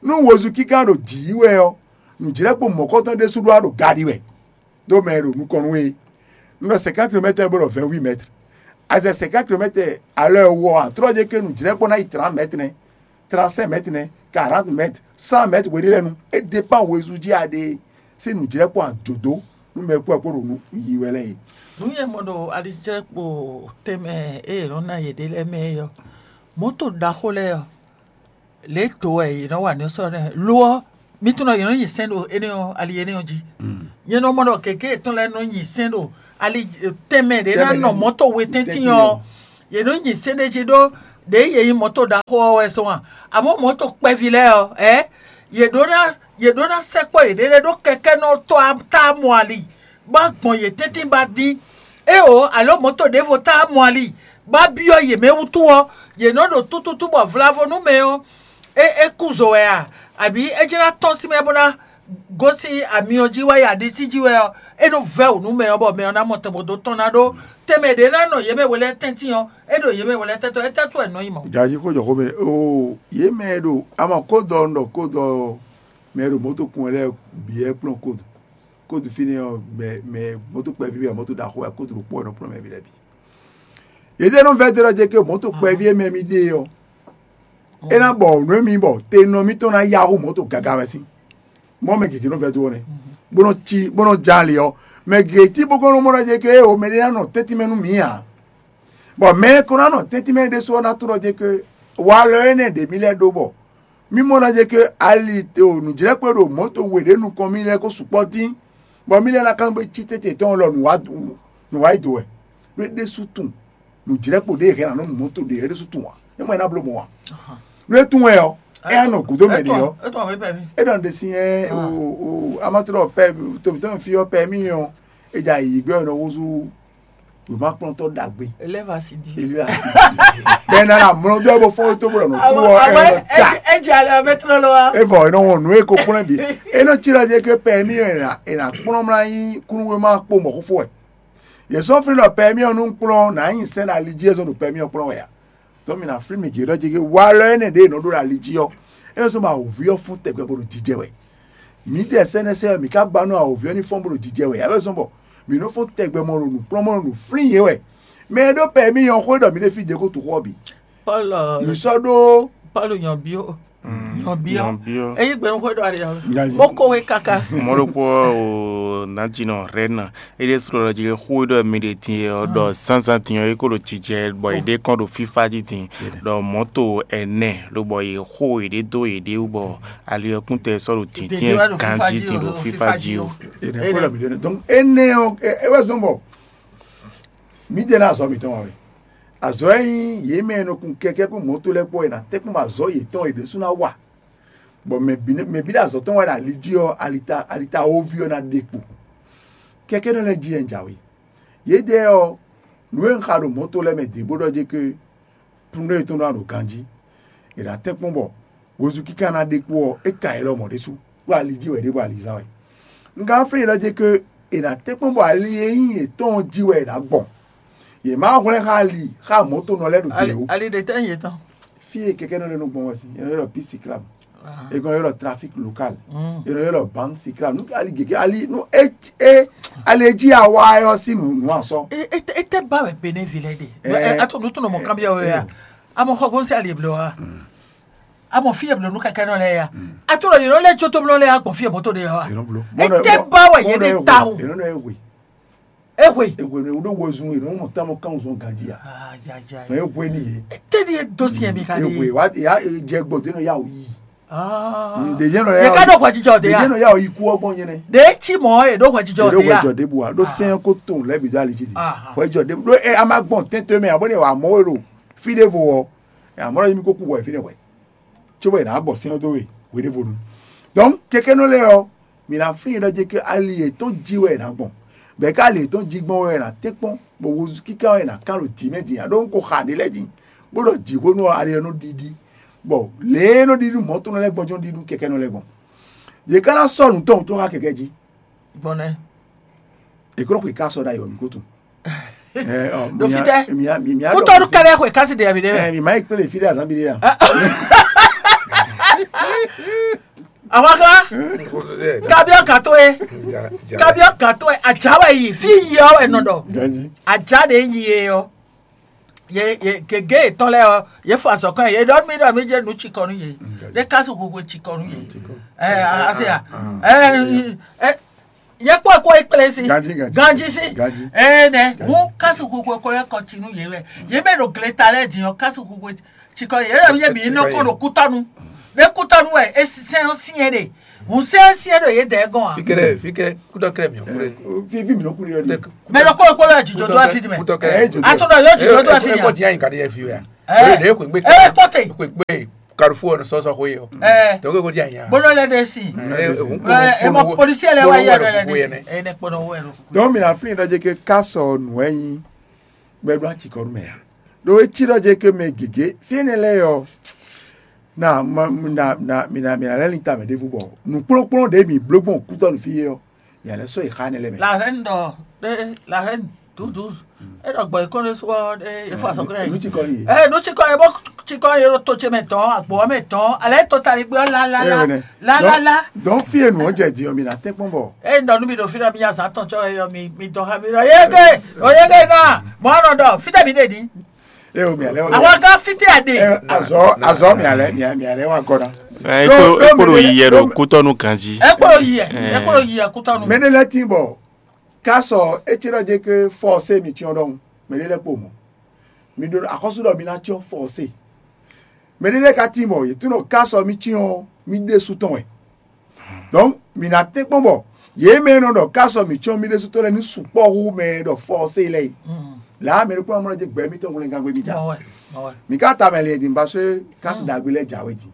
nú wozu kíká ɖo jǐ yí wɛ ɔ́, nǔjlɛ́kpo mɔ̌kɔtɔn ɖésú ɖó wá ɖo ga ɖi wɛ. Ɖó mɛ e ɖo nukɔn nú we. Un ɖɔ cinquante kilomètres bó ɖɔ vingt-huit mètres. A zɛ cinquante kilomètres à l'heure wɔ a, trɔ́ jɛ ke nǔjlɛ́kpɔ́ ná yi trente mètres nɛ́, trente-cinq mètres nɛ́, quarante mètres, cent mètres hweɖé lɛ́ɛ nu. É dépend wezun jí a ɖe sín nǔjlɛ́kpɔ́ a jǒdó nú mɛ kpó ɛ kpó ɖo nú yi wɛ lɛ́ɛ é. Nǔ e mɔ ɖo alijlɛ́kpo tɛnmɛ e yě nɔ ná yěɖée lɛ́ɛ mɛ é ɔ́, mɔ̌to ɖaxó lɛ́ɛ ɔ́, lě e dǒ wɛ yě nɔ wa nǔ sɔ́ nɛ́. Lo ɔ́, mi tunwun ɖɔ yě nɔ nyi sɛ́n ɖo énɛ́ ɔ́ ali énɛ́ ɔ́ jí. Nyɛ nɔ mɔ ɖɔ gěgé yětɔn lɛ́ɛ nɔ nyi sɛ́n ɖo ali tɛnmɛ ɖě ná nɔ mɔ̌to we tɛ́ntin ɔ́, yě nɔ nyi sɛ́n ɖé jí ɖó ɖěe yě nyí mɔ̌to ɖaxó ɔ́ wɛ zɔn a? Amɔ̌ mɔ̌to kpɛví lɛ́ɛ ɔ́, ɛ yě ɖó ná yě ɖó ná sɛkpɔ́ yěɖée lɛ́ɛ ɖó kɛkɛ́nɔtɔ́ ɔ́ táá mɔ ali, bó gbɔn yě tɛ́ntin ba dín. Éeǒ, alǒ mɔ̌to ɖěvo táá mɔ ali, bó byɔ́ yě mɛ wútu ɔ́, yě nɔ ɖo tútútú bɔ vlavo nú mɛ ɔ́, é é kú zo wɛ a? Abǐ é jlá tɔ́n sín mɛ bó ná gosín amyɔ jí wá yi aɖisí jí wɛ ɔ́, é nɔ vɛ́ wǔ nú mɛ ɔ́, bɔ mɛ ɔ́ ná mɔ tɛnbɔdó tɔn ná ɖó tɛnmɛ ɖě ná nɔ yě mɛ we lɛ́ɛ tɛ́ntin ɔ́, é ɖo yě mɛ we lɛ́ɛ tɛ́ntɔ́, é tɛ́ tó wɛ nɔ nyí mɔ̌? Jají xó jɔ xó mɛ oo, yě mɛ e ɖo ama kó dɔ un ɖɔ kó dɔ mɛ e ɖo mɔ̌to kun wɛ lɛ́ɛ bǐ wɛ kplɔ́n kódu. Kódu fínɛ́ ɔ́, mɛ mɛ mɔ̌to kpɛví wɛ, mɔ̌to ɖaxó wɛ, kódu ɖokpó wɛ nɔ kplɔ́n mɛ bǐ lɛ́ɛ bǐ. Yědɛ́ nɔ vɛ́ dó ɖɔ jɛ ke mɔ̌to kpɛví e mɛ mi ɖe ɔ́, é ná bɔ nǔ e mi bɔ te nɔ mitɔn ná yá hú mɔ̌to gaga wɛ sín. Mɔ̌ mɛ gěgé nɔ vɛ́ dó ɔ́ nɛ́, bó nɔ cí bó nɔ ján ali ɔ́. Mɛ gěgé tí bó kɔn nɔ mɔ ɖɔ jɛ ke o mɛ ɖé ná nɔ tɛ́ntin mɛ nú mǐ ǎ. Bɔ mɛ e ko ná nɔ tɛ́ntin mɛ ɖésú ɔ́ ná tunɔ jɛ ke walɔ énɛ́ ɖě mì lɛ́ɛ ɖó bɔ mì mɔ ná jɛ ke ali o nǔjlɛ́kpé ɖo mɔ̌to we ɖě nukɔn mì lɛ́ɛ ko sukpɔ́ dín, bɔ mì lɛ́ɛ ná kán gbe cí tɛ́ntin tɔn lɔ nǔ wá yi do wɛ. Ɖó é ɖésú tunwun nǔjlɛ́kpo ɖě e hɛn ná nɔ nu mɔ̌to ɖě é ɖésú tunwun ǎ. É mɔ é ná bló mɔ̌ ǎ. Nú é tunwun wɛ ɔ́, é ná nɔ gǔdo mɛ ɖě ɔ́. É ɖɔ ɖe si ɛ o o amatlɔ pɛ tomitɔn fi ɔ́ pɛ mì ɔ́, é dza yi gbɛ ɔ́ nɔ húzú wěmakplɔ́ntɔ́ ɖagbe. Eleva si di. Eleva si di. Bɛn na na mlɔ dɔ bɔ fɔwɔ to bɔ nɔ tu wɔ ɛ nɔ ta. Edze ale ɔbɛ tlɔ lɔ wa. Evɔ enɔ wɔn nu eko kplɔn bi. Enɔ tsi la dze ke pɛ mi ena ena kplɔn mla yi kunu wema kpo mɔ xofo ɛ. Yɛ sɔ fli lɔ pɛ mi ɔnu kplɔn na yi sɛn na li dzi ezɔn do pɛ mi ɔkplɔn wɛ ya. Tɔ mi na fli mi gě ɖɔ dze ke wa lɔ ene ɖe enɔ ɖo na li dzi ɔ. Ezɔn ma ovi ɔ fún tɛgbɛ bo ɖo didɛ wɛ. Mǐdɛɛ sɛ́nɛsɛ́ ɔ́, mǐ ka ba nú awǒvi ɔ́ ní fɔ́n bó ɖo jijɛ wɛ ǎ wɛ zɔ́n bɔ mǐ nɔ́ fɔ́n tɛgbɛ mɔ ɖo nǔkplɔ́nmɔ ɖo nǔ flín yě wɛ. Mɛ e ɖó pɛ mì nyɔ́ xó ɖɔ mǐ ɖe fí jɛ kó tu xó ɔ́ bǐ. Pɔ́lu Mǐ sɔ́ ɖó pɔ́lu nyɔ̌byó nyɔ̌byó nyɔ̌byó. Ényí gbɛnu xó ɖɔ ali ɔ́, Gazi. Bó kó wé káká. Mɔ̌ ɖokpó ɔ́, o nǎjínɔ Rɛ́na, é ɖésú ɖɔ jí xó e ɖɔ mi ɖe din é ɔ́, ɖɔ zánzán din ɔ́, é ko ɖo jijɛ bɔ è ɖe kɔn ɖo fífá jí din, ɖɔ mɔ̌to ɛnɛ lobɔ yě xo yěɖée dó yěɖée wú bɔ ali ɔ́ kún tɛ sɔ́ ɖo dǐndín ganjí din ɖo fífá jí ó. Enɛ kó lɔ mi ɖe ne. Donc énɛ́ ɔ́, é é wɛ zɔ́n bɔ mǐ jɛ ná azɔ̌ mǐtɔn wá wɛ. Azɔ̌ e nyí yě mɛ e nɔ kun kɛkɛ́ kpó mɔ̌to lɛ́ɛ kpó wɛ è nǎ tɛ́ kpɔ́n bɔ azɔ̌ yětɔn e ɖésú ná wa, bɔ mɛ bǐ ná- mɛ bǐ ɖo azɔ̌ tɔn wá ɖo ali jí ɔ́, alita alita wóví ɔ́ ná ɖe kpo. Kɛkɛ́nɔ lɛ́ɛ jí wɛ un jǎwe. Yědɛɛ ɔ́, nǔ e un xa ɖo mɔ̌to lɛ́ɛ mɛ dě bó ɖɔ jé ké plúndó yětɔn ɖó aɖo ganjí. È nǎ tɛ́nkpɔ́n bɔ hwezu kíká ná ɖe kpó ɔ́, é ka yě lɔmɔ̌ ɖésú, ɖó ali jí wɛ ɖěbǔ alizán wɛ. Un ka flín ɖɔ jé ké è nǎ tɛ́nkpɔ́n bɔ ali e nyí yětɔn ɔ́ jí wɛ è nǎ gbɔn. Yě má hwlɛ́n xá ali xá mɔ̌tonɔ lɛ́ɛ ɖo te ó. Ali ɖe tɛ́ nyí yětɔn? Fí e kɛkɛ́nɔ lɛ́ɛ nɔ gbɔn wɛ sín, è nɔ ylɔ́ pí siklam, è nɔ ylɔ́ trafik lokal, è nɔ ylɔ́ bank siklam. Nú ali gěgé ali nú é é ali e jí awa ɛ ɔ́ sín nǔ nǔ asɔ. Ete ba wɛ Benin vi lɛ de. Ato nu tɔnɔ mɔ kanbiya wɛ ya. Amɔ xɔ gɔn se ali eblo wa. Amɔ fi eblo nu kɛkɛ nɔ lɛ ya. Ato lɔ yɛrɛ lɛ tso to blɔ lɛ ya gbɔn fi eblo to de ya wa. Ete ba wɛ yɛ de ta o. Yɛrɛ lɛ wɛ. Ehwe. Ehwe ne wo ɖo wezun yɛrɛ mɔ tamɔ kan zɔn ganji ya. Mɛ ehwe ni ye. Ete ni e do si yɛ mi ka de. Ehwe wa ya jɛ gbɔ de nɔ ya o yi. Ɖe yɛn nɔ ya. Yɛ ka ɖo hwɛjijɔ de ya. Ɖe yɛn nɔ ya o yi ku ɔgbɔn yɛn nɛ. Ɖe tsi mɔ e ɖo hwɛjijɔ de ya. Ɖo hwɛjɔ de bu wa ɖo sɛn ko to lɛ bi do ali dzi di. Hwɛjɔ de ɖo e a ma gbɔn tɛntɛn mɛ a bɔ ne wa mɔ e ɖo fí ɖěvo ɔ́, amɔ̌ ɖɔ mi ko kú hwɛ fínɛ́ hwɛ, cóbɔ è nǎ bɔ sɛ́n ɔ́ dó we hweɖěvonu. Donc kɛkɛ́nɔ lɛ́ɛ ɔ́, mǐ ná flín yě ɖɔ jí ké ali yětɔn jí wɛ è nǎ gbɔn, bɔ é ká ali yětɔn jí gbɔn wɛ è nǎ tɛ́nkpɔ́n, bɔ wozu kíká wɛ è nǎ kán ɖo jǐ mɛ din ǎ, ɖó un ko xa ɖě lɛ́ɛ din, bó ɖɔ jǐxwénu ɔ́ ali ɔ́ nɔ ɖiɖi, bɔ lě e nɔ ɖiɖi mɔ̌ tɔn lɛ́ɛ gbɔn jɔ́n ɖiɖu kɛkɛ́nɔ lɛ́ɛ gbɔn. Yě ká ná sɔ́ nǔ tɔn wútu xá kɛkɛ́ jí. Gbɔn nɛ́. È kó nɔ xwe ká sɔ ɖ'ayǐ wɛ mǐ ko tunwun. Ɛ, ɔ, Ɖo mǐ fítɛ́? Mǐ mǐ mǐ Kútɔ́nú kɛ́ɖɛ́ xwe kási ɖe abi ɖé mɛ. Ɛ, mǐ má yi kplé fí ɖé azán bi ɖé ya. Àwọn kan kabiɔ kan tó ye, kabiɔ kan tó ye, àjà wɛ yi fi yi ɔ wɛ nɔ ɖɔ. Ganji. Àjà ɖe yi ye ɔ. Ye ye gege yětɔn lɛ́ɛ ɔ, ye fɔ azɔ̌ kɔn ye ɖɔ mí ɖɔ mí jɛ nǔ cikɔ nú ye. Ɖé kási hwehwe cikɔ nú ye. Ɛ ase ya. Ɛ ɛ yɛ kpɔ kɔ ekplé si. Ganji, ganji. Ganji si. Ganji. Ɛ nɛ hu kási hwehwe kɔ yɛ kɔ tsi nú ye wɛ. Ye mɛ ɖo gleta lɛ́ɛ din ɔ kási hwehwe cikɔ ye lɛ yɛ mi nɔ kɔ ɖo kútɔnu. Ɖé kútɔnu wɛ e sɛn ɔ sinyɛ ɖe. Hun sɛn ɔ sinyɛ ɖo ye dɛ gɔn a. Fikɛrɛ fikɛ kútɔ kɛrɛ mi ɔ kúrɛ. Fífi mi nɔ kú ɖiɖɔ di. Mɛ ɖo kó kpó lɛ jìjɔ dó asi di mɛ. Kútɔ kɛrɛ. Atɔ dɔ yɔ jìjɔ dó asi di mɛ. Ɛ kɔ diya yin ka ɖe yɛ fi wɛ a. Ɛ ɛ kpɔte. Kpekpe karufu ɔ sɔsɔ xo ye ɔ. Ɛ tɔgɔ ko diya yin a. Bolo lɛ de si. Ɛ ɛ mɔ polisi lɛ wa yɛ lɛ de si. Ɛ ne kpɔnɔ wɛ lɔ. Donc mi na flin ɖɔ jɛ ke kasɔ nù ɛ yin gbɛɖo atsikɔnu mɛ ya. Ɖo etsi ɖɔ jɛ ke mɛ gěgé fi énɛ́ lɛ́ɛ ɔ na ma na na mi na mi na lɛ́ lin tamɛ ɖěvo bɔ nǔkplɔ́nkplɔ́n ɖě mi bló gbɔn kútɔ́ nú fí é ɔ́, mi a lɛ́ sɔ́ yi xá énɛ́ lɛ́ɛ mɛ. La reine dɔ ɖe la reine douze douze. E ɖɔ gbɔ ikɔn ɖe sɔ ɖe efo asɔkɔ yɛ. Nú tsikɔ yi. Ɛ nú tsikɔ yɛ bɔ tsikɔ yɛ ɖo to ce mɛ tɔn agbo mɛ tɔn alɛ to tali gbé la la la la la la. Donc fi e nǔ ɔ́ jɛ din ɔ́ mi na tɛ́nkpɔ́n bɔ. E ɖɔ nú mi ɖo fi ɖɔ mi azǎn tɔn tsɔ yɔ mi mi dɔn xá mi ɖɔ yege o yege na mɔ anɔ ɖɔ fitɛ mi ɖe ni. Eo mi alɛ wa. Àwọn kan fitɛ a ɖe. Azɔ azɔ mi alɛ mi mi alɛ wa gɔna. Ɛ e kpolo yi yɛ ɖo kútɔnu ganji. E kpolo yi yɛ e kpolo yi yɛ kútɔnu. Mɛ ne lɛ tin bɔ kasɔ etsé ɖɔ jɛ ke fɔ se mi tiɔn ɖɔhun mɛ ne lɛ kpo mɔ mi ɖo axɔsu ɖɔ mi na tiɔn fɔ se. Mɛ ɖé lɛ́ɛ ka tín bɔ yě tunɔ ká sɔ mì cyɔ́n mì ɖésú tɔn wɛ. Donc mǐ ná tɛ́nkpɔ́n bɔ yě mɛ e nɔ ɖɔ ká sɔ mǐ cyɔ́n mì ɖésú tɔn lɛ́ɛ ní sukpɔ́ hú mɛ e ɖɔ fɔ́sé lɛ́ɛ é. Lǎ mɛ ɖokpó ɔ́ mɔ jɛ gbɛ mítɔn hwlɛngán gbé mì ta. Mǐ ka ta mɛ lɛ din ba sɔ́ kási ɖagbe lɛ́ɛ jǎwe din.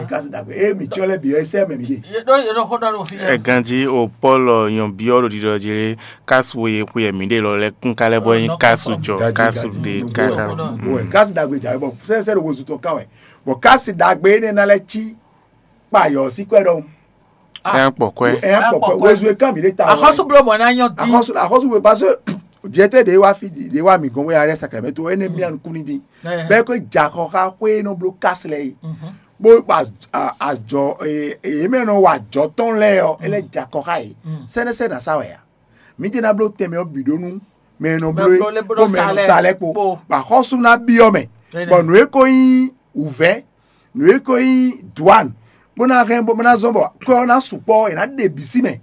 Kási ɖagbe ée mǐ cyɔ́n lɛ́ɛ bǐ ɔ́ é sɛ́ mɛ mǐ ɖe. Yě ɖó yě ɖó xó ɖɔ ɖo fí. Ɛ ganjí o Pɔ́lu nyɔ̌byɔ́ ɖo ɖiɖɔ jí lé, kásu e xwe mǐ ɖe lɔ lɛ́ɛ kún ká lɛ́ bɔ nyí kásu jɔ kásu ɖe káká. Kási ɖagbe jǎwe bɔ sɛ́sɛ́ ɖo wozu tɔn ká wɛ. Bɔ kási ɖagbe énɛ́ ná lɛ́ cí kpayɔ̌ sí kwɛ́ ɖɔhun. Ɛ kpɔ kwɛ. Ɛ kpɔ kwɛ wozu e ká mǐ ɖe ta. Axɔ́sú bló mɔ̌ ná nyɔ́ dín. Axɔ́sú axɔ́sú we parce que jɛtɛ ɖe wá fi ɖe wá mǐ gɔn wé arɛ sacramento énɛ́ mía nukún ní dín. Bɛ́ kó jɛ axɔ xá xwé e nɔ bló kási lɛ́ɛ é. Bó ajɔ èyí mɛ nɔ wa ajɔ tɔn lɛ́ɛ ɔ́ é lɛ́ jɛ akɔ xá yě. Sɛnɛsɛ nǎ sa wɛ a? Mǐ jɛ ná bló tɛnmɛ ɔ́ bǐ ɖó nú mɛ e nɔ bló é kpó mɛ e nɔ sa lɛ́ɛ kpó. Bɔ axɔ́sú ná byɔ́ mɛ, bɔ nǔ e ko nyí wǔvɛ́, nǔ e ko nyí dwǎn, bó ná hɛn bó ná zɔ́n bɔ kwɛ́ ɔ́ ná sukpɔ́ ɔ́, è nǎ ɖe bǐ sí mɛ,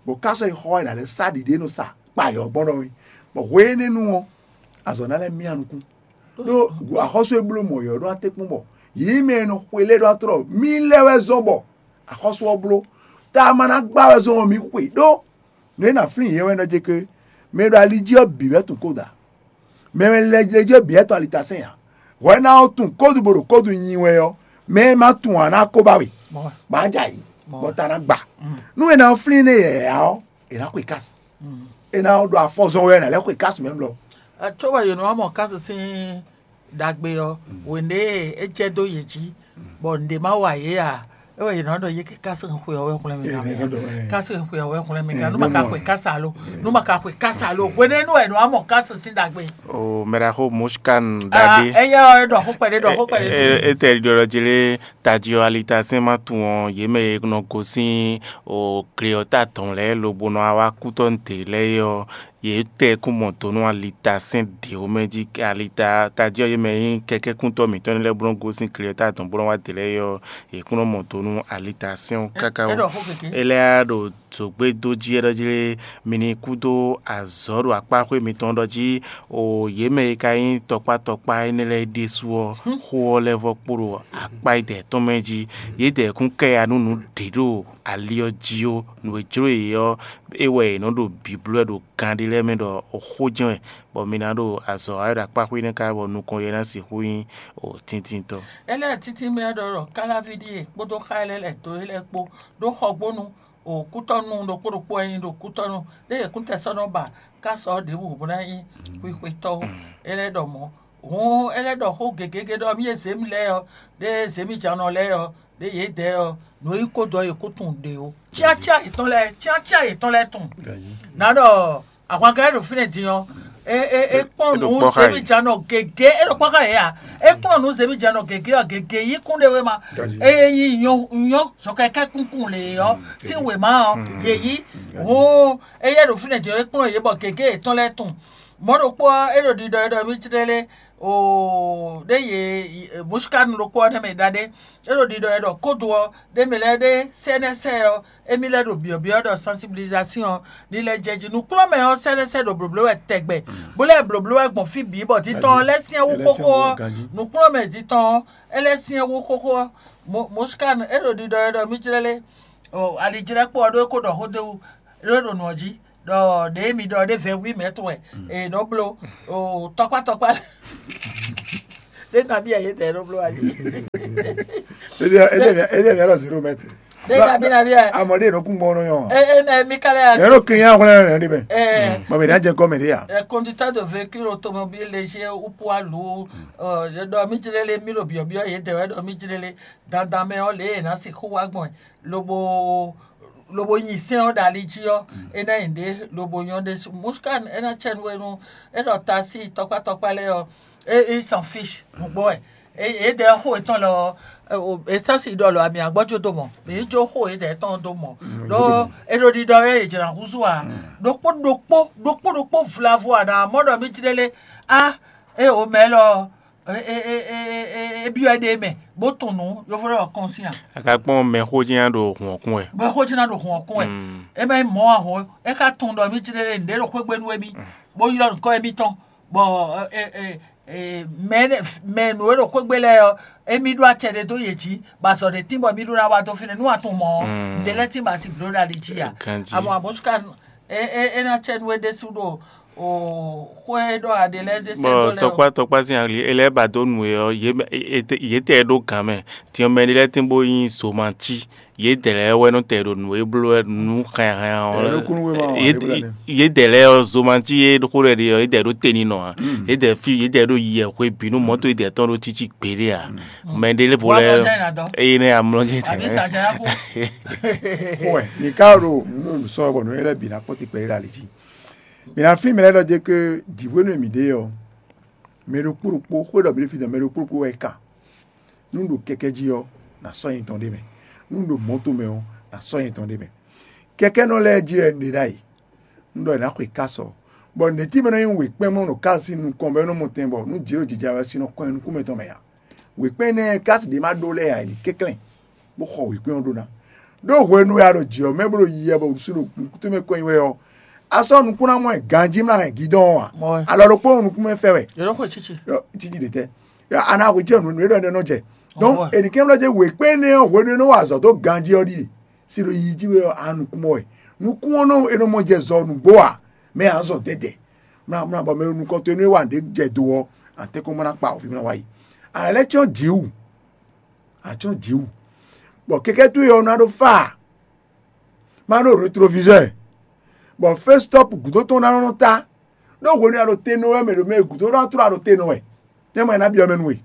bɔ ká sɔ́ yi xɔ ɔ́, è nǎ lɛ́ sá ɖiɖe e nɔ sa kpayɔ̌ gbɔn ɖɔhun. Bɔ hwenu énɛ́ nu ɔ́, azɔ̌ ná lɛ́ myá nukún. Ɖó axɔ́sú e bló mɔ̌ ɔ́ ɖó atɛ́nkpɔ́n bɔ yě mɛ e nɔ xwe lɛ́ɛ ɖó atlɔ́ mì lɛ́ wɛ zɔ́n bɔ axɔ́sú ɔ́ bló. Ta ma ná gbá wɛ zɔ́n ɔ́ mì xwe ɖó nǔ e nǎ flín yě wɛ nɔ jɛ ké mɛ e ɖo ali jí ɔ́ bǐ wɛ tunwun kóda. Mɛ e lɛ jɛ jí ɔ́ bǐ wɛ tɔn alitasɛn ǎ. Hwɛ ná ɔ́ tunwun kódu bó ɖo kódu nyi wɛ ɔ́, mɛ e ma tunwun ǎ ná ko ba we, bɔ á jɛ ayǐ, bɔ ta ná gba. Nú è nǎ flín énɛ́ yɛ̌yɛ́ ɔ́, è nǎ xwe kási. È nǎ ɖo afɔ zɔn wɛ è nǎ lɛ́ xwe kási mɛ mlɔ. Cóbɔ yě nɔ wá mɔ kási sín ɖagbe ɔ́, wěnde e é jɛ dó yě jí, bɔ nǔɖé má wa yě ǎ. É wɛ yě nɔ ɖɔ yě ké kási xwe ɔ́ wɛ hwlɛ́n mì gán mɛ. Kási xwe ɔ́ wɛ hwlɛ́n mì gán. Nú ma ka xwe kási alo, nú ma ka xwe kási alo, hwenɛ́nu wɛ nɔ wá mɔ kási sín ɖagbe. O mɛɖaxó Mushkan ɖagbe. Éyɛ́ ɔ́, é ɖɔ xó kpɛɖé, ɖɔ xó kpɛɖé. Étɛ́ ɖiɖɔ jí lé tají ɔ́ alitasɛn má tunwun ɔ́, yě mɛ e nɔ gosín o gle ɔ́ ta tɔn lɛ́ɛ lobo nɔ wá kútɔ́ nǔ lɛ́ɛ é ɔ́, yě tɛ kún mɔ do nú alitasɛn ɖě wú mɛ jí alita tají ɔ́ yě mɛ nyí kɛkɛ́kúntɔ́ mǐtɔn lɛ́ɛ bó nɔ́ gosín gle ɔ́ ta tɔn bó nɔ́ wá dě lɛ́ɛ é ɔ́, yě kún nɔ mɔ do nú alitasɛn ɔ́ káká wú. É lɛ́ ɖo Zǒgbédó jí é ɖɔ jí lé, mi ní kú dó azɔ̌ ɖo akpá xwé mitɔn ɖɔ jí, o yě mɛ e ka nyí tɔkpá tɔkpá énɛ́ lɛ́ɛ ɖésú ɔ́, xó ɔ́ lɛ́ vɔ́ kpo ɖo akpá yědɛɛ tɔn mɛ jí. Yědɛɛ kún kɛ ya nú nǔ ɖě ɖo ali ɔ́ jí ó. Nǔ e jló yě ɔ́, é wɛ yě nɔ ɖo bǐbló wɛ ɖo gan ɖé lɛ́ɛ mɛ ɖɔ xó jɛ́n wɛ, bɔ mi ná ɖo azɔ̌ wa wɛ ɖo akpá xwé énɛ́ ká bɔ nukɔn yě ná sixú nyí o tíntínntɔ́. Énɛ́ títí mɛ ɖɔ ɖɔ káláví ɖíe kpódó xá e lɛ́ lɛ̌ dó é lɛ́ɛ kpó ɖó xɔgbónu o kútɔ́nu ɖokpó ɖokpó e nyí ɖo kútɔ́nu ɖé e kúntɛsɔ́nɔ ba ká sɔ́ ɖěbǔ bó ná nyí xwixwetɔ́ ó. É lɛ́ ɖɔ mɔ̌. Hǔn é lɛ́ ɖɔ xó gěgé ɖɔ mì e zě mì lɛ́ɛ ɔ́, ɖé e zě mì jǎnɔ lɛ́ɛ ɔ́, ɖé yědɛɛ ɔ́, nǔ e nyí kó dɔ é kó tunwun ɖě ó. Cyácyá yětɔn lɛ́ɛ, cyácyá yětɔn lɛ́ɛ tunwun. Nǎ ɖɔ ahwankɛ́ ɖo fínɛ́ din ɔ́, é é é kpɔ́n nǔ zěmijǎnɔ gěgé, é ɖo kpɔ́ xá yě a? É kpɔ́n nǔ zěmijǎnɔ gěgé ɔ́, gěgé yí kún ɖé wé ma. É nyí nyɔ́ nyɔ́ zɔkɛkɛ́ kúnkún lě ɔ́ sín wěma ɔ́, yě yí. Hǔn éyɛ́ ɖo fínɛ́ din ɔ́, é kplɔ́n yě bɔ gěgé yětɔn lɛ́ɛ tunwun. Mɔ̌ ɖokpó ɔ́, é ɖo ɖiɖɔ é ɖɔ mí jlɛ́ lé oo ɖé yě mɔ̌síkánu ɖokpó ɔ́ nɛ́ mɛ ɖaɖé. É ɖo ɖiɖɔ é ɖɔ kódo ɔ́, ɖé mɛ lɛ́ɛ ɖé sɛ́nɛ́sɛ́ ɔ́, émí lɛ́ ɖo byɔ̌byɔ́ ɖɔ sensibilisation ɔ́ ní lɛ́ jɛ jí. Nǔkplɔ́nmɛ ɔ́ sɛ́nɛ́sɛ́ ɖo blǒbló wɛ tɛgbɛ, bó lɛ́ blǒ wɛ gbɔn fí bǐ bɔ dítɔn ɔ́ lɛ́ syɛ́n wú xóxó ɔ́, nǔkplɔ́nmɛ dítɔn ɔ́, é lɛ́ syɛ́n wú xóxó ɔ́. Mɔ̌síkánu é ɖo ɖiɖɔ é ɖɔ mí jlɛ́ lé, alijlɛ́kpo ɔ́ ɖó é kó ɖɔ xó d'é wú, é ɖo nǔ ɔ́ jí ɖɔ ɖě mi ɖɔ ɖé vɛ̌ wí mɛ̌tɔn wɛ è nɔ bló tɔkpá tɔkpá ɖé nabí ɛ yě tɛ nɔ bló wá jí. Édé mia ɖɔ zéro mètre. Ɖé nabí nabí ɛ. Amɔ ɖé nɔ kún gbɔn nɔ yɔn. Ɛ ɛ mi ka lɛ. Ɛ nɔ kiri ya hwlɛ nɔ ɖe mɛ. Ɛ Mɔ mi ɖe jɛ gɔmɛ ɖe ya. Ɛ conducteur de véhicule automobile léger ou poids lourd, ɔ ɖɔ mi jlele mi ɖo biɔbiɔ yě dɛ wɛ ɖɔ mi jlele dandan mɛ ɔ lě è nǎ sixú wá gbɔn lobo lobo nyi sɛ́n ɔ́ ɖo ali jí ɔ́, é ná nyi ɖě lobo nyɔ́ ɖésú. Muskan é ná cɛ nú we nú é ɖɔ tasí tɔkpá tɔkpá lɛ́ɛ ɔ́, é é s'en fiche nǔgbó wɛ. Yědɛɛ xó yětɔn lɔ ɔ́, è sɔ́ si ɖɔ lɔ ami agbɔ́ jó dó mɔ, mǐ ní jó xó yědɛɛ tɔn dó mɔ. Ɖó é ɖo ɖiɖɔ wɛ è jlǎ húzú ǎ. Ɖokpó ɖokpó ɖokpó ɖokpó vlavo ǎ ná mɔ ɖɔ mí jlélé á é o mɛ lɔ é byɔ́ ɛ ɖe mɛ bó tunwun nǔ yovo ɖɔ kɔn sín a. A ka kpɔ́n mɛxó jɛ́n ɖo hǔn ɔ́ kún wɛ. Mɛxó jɛ́n ɖo hǔn ɔ́ kún wɛ. É mɛ mɔ ahɔn é ka tunwun ɖɔ mí jlélé nǔɖé ɖo xwé gbe nú émí bó ylɔ́ nǔkɔ émítɔn bɔ mɛ mɛ nǔ e ɖo xwé gbe lɛ́ɛ ɔ́, émí ɖó acɛ ɖé dó yě jí, bɔ azɔ̌ ɖé tín bɔ émí ɖó ná wá dó fínɛ́. Nú a tunwun mɔ̌ ɔ́, nǔɖé lɛ́ɛ tín bɔ a si blǒ ɖo ali jí a. Amɔ amɔ̌ é ná cɛ nú we ɖésú ɖo xwé ɖɔ aɖe lɛ́ɛ zé sɛ́ dó lɛ́ɛ ɔ́. Tɔkpá tɔkpá sín ali e lɛ́ɛ ba dó nǔ e ɔ́, yě tɛ ɖó gǎn mɛ. Din ɔ́, mɛ ɖé lɛ́ɛ tín bó nyí zomancí. Yědɛɛ lɛ́ɛ wɛ nɔ tɛ ɖo nǔ e bló wɛ nú hɛnhɛn ɔ́. Yědɛɛ lɛ́ɛ ɔ́ zomancí e ɖokpó lɛ́ɛ ɖe ɔ́, yědɛɛ ɖó te ní nɔ ǎ. Yědɛɛ fí yědɛɛ ɖó yɛ hwe bǐ nú mɔ̌to yědɛɛ tɔn ɖó títí gbeɖé ǎ. Mɛ ɖé lɛ́ɛ vo lɛ́ɛ eye nɛ amlɔ jɛ tɛ. Wɛ mi ka ɖo nǔ sɔ bɔ nǔ lɛ́ɛ bǐ ná kpɔ́n ti kpɛɖé ɖo ali jí. Mi ná flín mɛ lɛ́ɛ ɖɔ jɛ ké jǐhwenu e mǐ ɖe ɔ́, mɛ ɖokpó ɖokpó xwé ɖɔ mǐ ɖo fí dɔn mɛ ɖokpó ɖokpó wɛ kan. Nú ɖo kɛkɛ́ jí ɔ́, nǎ sɔ́ nyɛ tɔn ɖ'é mɛ. Nú ɖo mɔ̌to mɛ ɔ́, nǎ sɔ́ nyɛ tɔn ɖ'é mɛ. Kɛkɛ́nɔ lɛ́ɛ jí wɛ un ɖe ɖ'ayǐ. Un ɖɔ è nǎ xwe kási ɔ́, bɔ nɛ̌ cí mɛ nɔ nyí wěkpɛ́n mɔ ɖo kási nukɔn bɔ é nɔ mɔ tɛn bɔ nú jǐ ɖo jija wɛ sin nɔ kɔn nyi nukún mɛtɔn mɛ ǎ. Wěkpɛ́n énɛ́ kási ɖě ma ɖó lɛ́ɛ ǎ, è nǐ kɛnklɛ́n, bó xɔ wěkpɛ́n ɔ́ ɖó ná. Ɖó hwenu e a ɖo jǐ ɔ́ mɛ bó ɖo yiyi bɔ wǔsú ɖo nukúnmɛ kɔn nyi wɛ ɔ́, a sɔ́ nukún ná mɔ ɛ ganjí mlá hɛn gǐdɔn ɔ́ ǎ. Alɔ ɖokpó nɔ nukúnmɛ fɛ wɛ. Yɔ̌dɔ́ xwe cíci. Cíci ɖe tɛ́? A nǎ hwe jɛ nǔ e ɖɔ nɔ jɛ. Donc ènìkɛ́mlɔ́ jɛ wěkpɛ́nɛ́ ɔ́ hwenu e nɔ wa azɔ̌ dó ganjí ɔ́ ɖíe. Si ɖo yiyi jí wɛ ɔ́, a nukún mɔ wɛ. Nukún ɔ́ nɔ e nɔ mɔ jɛ zɔ nǔgbó ǎ, mɛ a zɔn dɛdɛ. Mlá mlá bɔ mɛ nukɔn towe nú é wa nǔɖé jɛ do ɔ́, a tɛ́nkpɔ́n bó ná kpa awǒvi mlá wá yi. A nǎ lɛ́ cyɔ́n jǐ wú. A cyɔ́n jǐ wú. Bɔ kɛkɛ́ towe ɔ́ ná ɖó fá ǎ. Má ɖó rétroviseur. Bɔ fé stɔ́p gǔdo tɔn ná nɔ tá. Ɖó hwenu e a ɖo te nɔ wɛ mɛ ɖo mɛ e gǔdo ná tló a ɖo te nɔ wɛ. Tɛ́nmɛ ná byɔ́ mɛ nú we.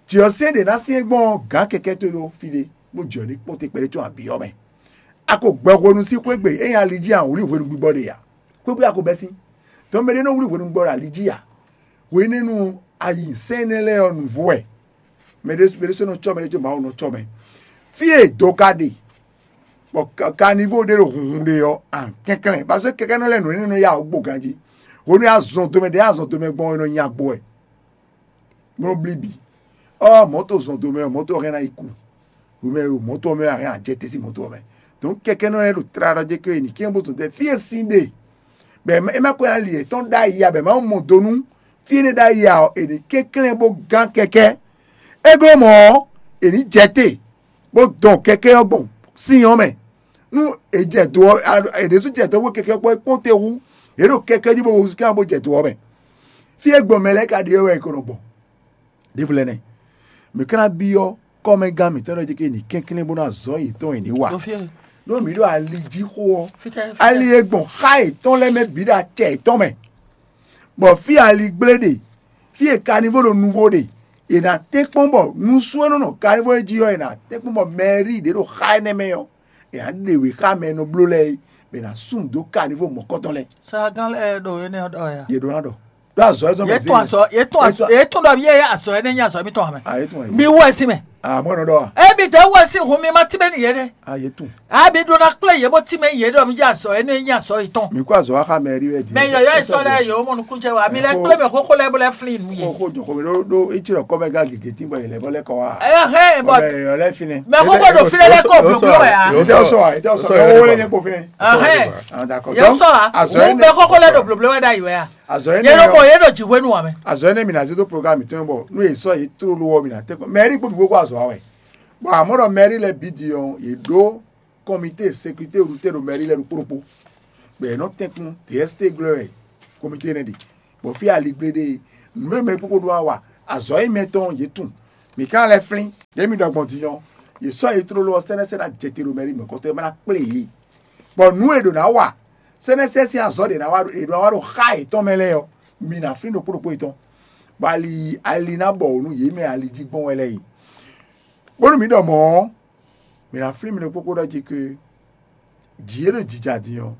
Jǐ ɔ́ syɛ́n ɖě ná syɛ́n gbɔn gǎn kɛkɛ́ towe ɖo fí ɖé, bó jɛ ní kpɔ́n te kpɛɖé tɔn abǐ ɔ́ mɛ. A ko gbɛ hwenu sín xwé gbe é nyí ali jí a wlí hwenu gbígbɔ ɖe ǎ. Xwé gbe a ko bɛ́ sín. Tɔn mɛ ɖé nɔ wlí hwenu gbígbɔ ɖo ali jí ǎ. Hwenɛ́nu a yi sɛ́n énɛ́ lɛ́ɛ ɔ́ nǔvú wɛ. Mɛ ɖé mɛ ɖé sɔ́ nɔ cɔ́ mɛ ɖé có Mawu nɔ cɔ́ mɛ. Fí e do ka ɖe, bɔ kanivo ɖé ɖo hunhun ɖe ɔ́, a kɛnklɛ́n. Paseke kɛkɛ́nɔ lɛ́ɛ nǔ énɛ́ nɔ ya wǔ gbo ganjí. Hwenu e a zɔn domɛ ɖě a zɔn domɛ gbɔn ɔ́, è nɔ nya gbo wɛ. Bó nɔ blí bǐ. Ɔ́ mɔ̌to zɔn do mɛ ɔ́, mɔ̌to ɔ́ hɛn ná yi ku. Hwemɛ e ɖo mɔ̌to ɔ́ mɛ ɔ́, a hɛn ajɛ tɛ́ sín mɔ̌to ɔ́ mɛ. Nǔ kɛkɛ́nɔ lɛ́ɛ ɖo tlala ɖɔ jɛ ke è nǐ kɛ́n bó zɔn tɛ́ fí e sín ɖe, bɔ è má ko ali yětɔn ɖ'ayǐ ǎ, bɔ è má mɔ do nú fí énɛ́ ɖ'ayǐ ǎ ɔ́, è nǐ kɛnklɛ́n bó gán kɛkɛ́. É glɔ́ mɔ̌ ɔ́, è nǐ jɛ te, bó dɔn kɛkɛ́ ɔ́ gbɔn sín ɔ́ mɛ. Nú è jɛ do ɔ́, è ɖésú jɛ dɔ̌n bó kɛkɛ́ kpɔ́ é kpɔ́n te hú, yě ɖo kɛkɛ́ jí bó húzú kɛ́ bó jɛ do ɔ́ mɛ. Fí e gbɔn mɛ lɛ́ɛ ka ɖe ɔ́ wɛ è ko nɔ gbɔn. Ɖěvo lɛ́ɛ nɛ́. Mǐ ka ná byɔ́ kɔ́mɛgán mǐtɔn ɖɔ jí ké ní kɛnklɛ́n bó ná zɔ̌ yětɔn e ní wa. Ɖó mǐ ɖo ali jí xó ɔ́, ali e gbɔn xá yětɔn lɛ́ɛ mɛ bǐ ɖo acɛ yětɔn mɛ, bɔ fí ali gblé ɖe, fí e kanivó ɖo nuvo ɖe, è nǎ tɛ́nkpɔ́n bɔ nusú e nɔ nɔ kanivó e jí ɔ́, è nǎ tɛ́nkpɔ́n bɔ mɛrí ɖě ɖo xá énɛ́ mɛ ɔ́, è nǎ ɖe wě xá mɛ e nɔ bló lɛ́ɛ é, bɔ è nǎ sú nǔ dó kanivó mɔ̌kɔtɔn lɛ́ɛ. Saagán lɛ́ɛ ɖo énɛ́ ɔ́ ɖɔ ya. Yě ɖó ná ɖɔ. Ɖó azɔ̌ e zɔ́n mɛ Yě tún azɔ̌, yě tún ɖɔ yé azɔ̌ énɛ́ nyí azɔ̌ mǐtɔn ǎ mɛ. Ah, yě tún wɛ. Mi wɔ ɛ sín mɛ. Ah, mɔ̌ nɔ ɖɔ a? Ebi tɛ wɔ ɛ sín hun mi ma tínmɛ n'i yé ɖe. Ah, yě tún. Abi ɖó ná kplé yě bó tínmɛ yě ɖɔ mi jɛ azɔ̌ énɛ́ nyí azɔ̌ yětɔn. Mi kó azɔ̌ wá xa mɛ rí wɛ di. Mɛ yɔyɔ́ yi sɔ́ lɛ́ɛ yǒ mɔ nukúnjɛ wa. Mi lɛ kplé mɛ xóxó lɛ́ɛ bó lɛ́ flín nǔ yě. Xóxó jɔ xómi ɖó ɖó é cí ɖɔ kɔ́mɛgán gěgé tín bɔ yě lɛ́ bɔ lɛ́ kɔ wá. Ɛ hɛn bɔ Mɛ yɔyɔ́ lɛ́ finɛ. Mɛ xóxó ɖo fínɛ́ lɛ́ kó blóbló wɛ ǎ. Yě tɛ sɔ wa, yě tɛ sɔ wa. Owó lɛ́ nyɛ kpo finɛ. Ɛhɛn. Ah, d'accord. Yě Donc, sɔ wa. Azɔ̌ Wọ́n énɛ́ bɛ xóxó lɛ́ɛ ɖo blǒbló wɛ ɖ'ayǐ wɛ a? Azɔ̌ Yě énɛ́ ɖo ɔ́, mɔ yě ɖo jǐ hwenu ǎ mɛ. Azɔ̌ énɛ́ mǐ ná zé dó programme mǐtɔn bɔ nú è sɔ́ yě tlóló ɔ́, mǐ ná tɛ́ kɔn. Mɛ ɛ́ ɖi kpó bǐ kó azɔ̌ wa wɛ. Bɔ amɔ̌ ɖɔ mɛrí lɛ́ɛ bǐ din ɔ́, yě ɖó kɔmitée sécurité rutɛ́ ɖo mɛrí lɛ́ɛ ɖokpó ɖokpó. Bɔ yě nɔ tɛ́nkún D S T glɔ́ wɛ kɔmitée énɛ́ ɖe. Bɔ fí aligblé ɖe nǔ e mɛ kpókpó ɖó wá wa azɔ̌ e mɛ tɔn yě tunwun. Mǐ ka lɛ́ flín ɖě mi ɖɔ gbɔn din ɔ́, yě sɔ́ yě tlóló ɔ́ sɛ́nɛ́sɛ́n ná jɛ te ɖo mɛrí mɔ̌kɔtɔn e ma ná kplé yě. Bɔ nǔ e ɖǒ ná wa sɛ́nɛ́sɛ́n sín azɔ̌ ɖě ná wa ɖě ná wa ɖo xá yětɔn mɛ lɛ́ɛ ɔ́, mi ná flín ɖokpó ɖokpó yětɔn, bɔ ali ali ná bɔ wǒ nú yě mɛ ali jí gbɔn wɛ lɛ́ɛ yi. Bónú mǐ ɖɔ mɔ̌ ɔ́, mǐ ná flín mi ɖokpó kpó ɖɔ jí ké jǐ e ɖo jija din ɔ́,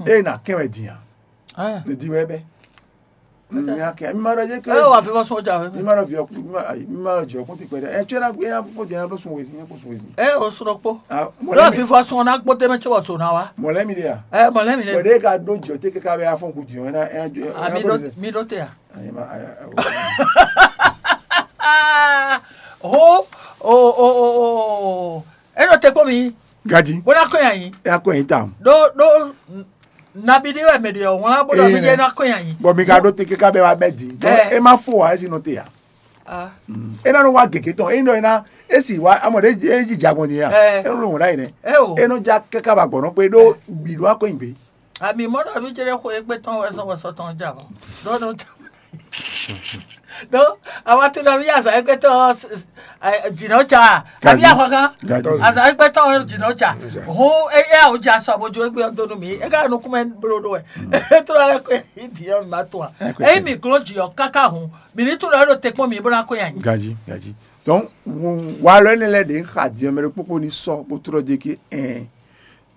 ée ná kɛn wɛ din ǎ. Ní din wɛ bɛ́. Ní ná kɛn mi ma ɖɔ jé ké. Ɛ wà fífɔ sún ọjà wɛ. Mi ma ɖɔ viɔ mi ma mi ma ɖɔ jɔ kún ti kpɛ dɛ. Ɛ tsɔɛ na ɛ na fífɔ jɛ na ɖo sun wezin, kó sun wezin. Ɛ o srɔ kpó. Ɖɔ fífɔ sún ɔna kpó tɛmɛ tsɔ wà sún na wa. Mɔlɛ mi de ya. Ɛ mɔlɛ mi de. Wɛ de ka ɖo jɔ te kaka bɛ afɔ ku jɔ ɛna ɛna jɔ. Ami ɖo mi ɖo te ya. Ayi ma ayi ayi. Ho o o o o. E ɖo te kpó mi. Gaji. Bó ná kó yan yín. E akó yan yín tawun. Ɖó ɖó nabi ɖé wɛ mɛ ɖe ɔ́ wlán bó ɖɔ mi jẹ́ ná kó yan yín. Bɔ mi ka ɖó te kíká bɛ wa bɛ di. Ɛ. E ma fo wa esi nɔ te ya. Ah. E na nɔ wa gègé tɔn e nɔ e na e si wa amɔ ɖe e ji jagbɔn di ya. Ɛ. E nɔ wò ɖa yi nɛ. Ɛ o. E nɔ ja kaka ba gbɔnɔ kpe ɖó gbi ɖó akó yin gbe. Ami mɔ ɖɔ mi jẹ́ kó egbe tɔn wɛ sɔn wɛ sɔtɔn ja bɔ. Ɖó nɔ ja. Ɖó awa to ɖɔ mi azɔ egbe tɔn jìnnà ca. Abi ahwakan. Azɔ egbe tɔn jìnnà ca. Hun eya o ja sɔ bo jo egbe ɔdonu mi. Ega nukumɛ blo ɖo wɛ. E to ɖo alɛ ko edi yɔ mi ma to a. Eyi mi glɔn dzi ɔ kaka hun. Mi ni to ɖɔ ɖo te kpɔn mi bó ná ko yan nyi. Gaji gaji. Donc walɔ ɛnɛ lɛ ɖe xa di ɔmɛ ɖe kpokpo ni sɔ bó trɔ dzi ke ɛn.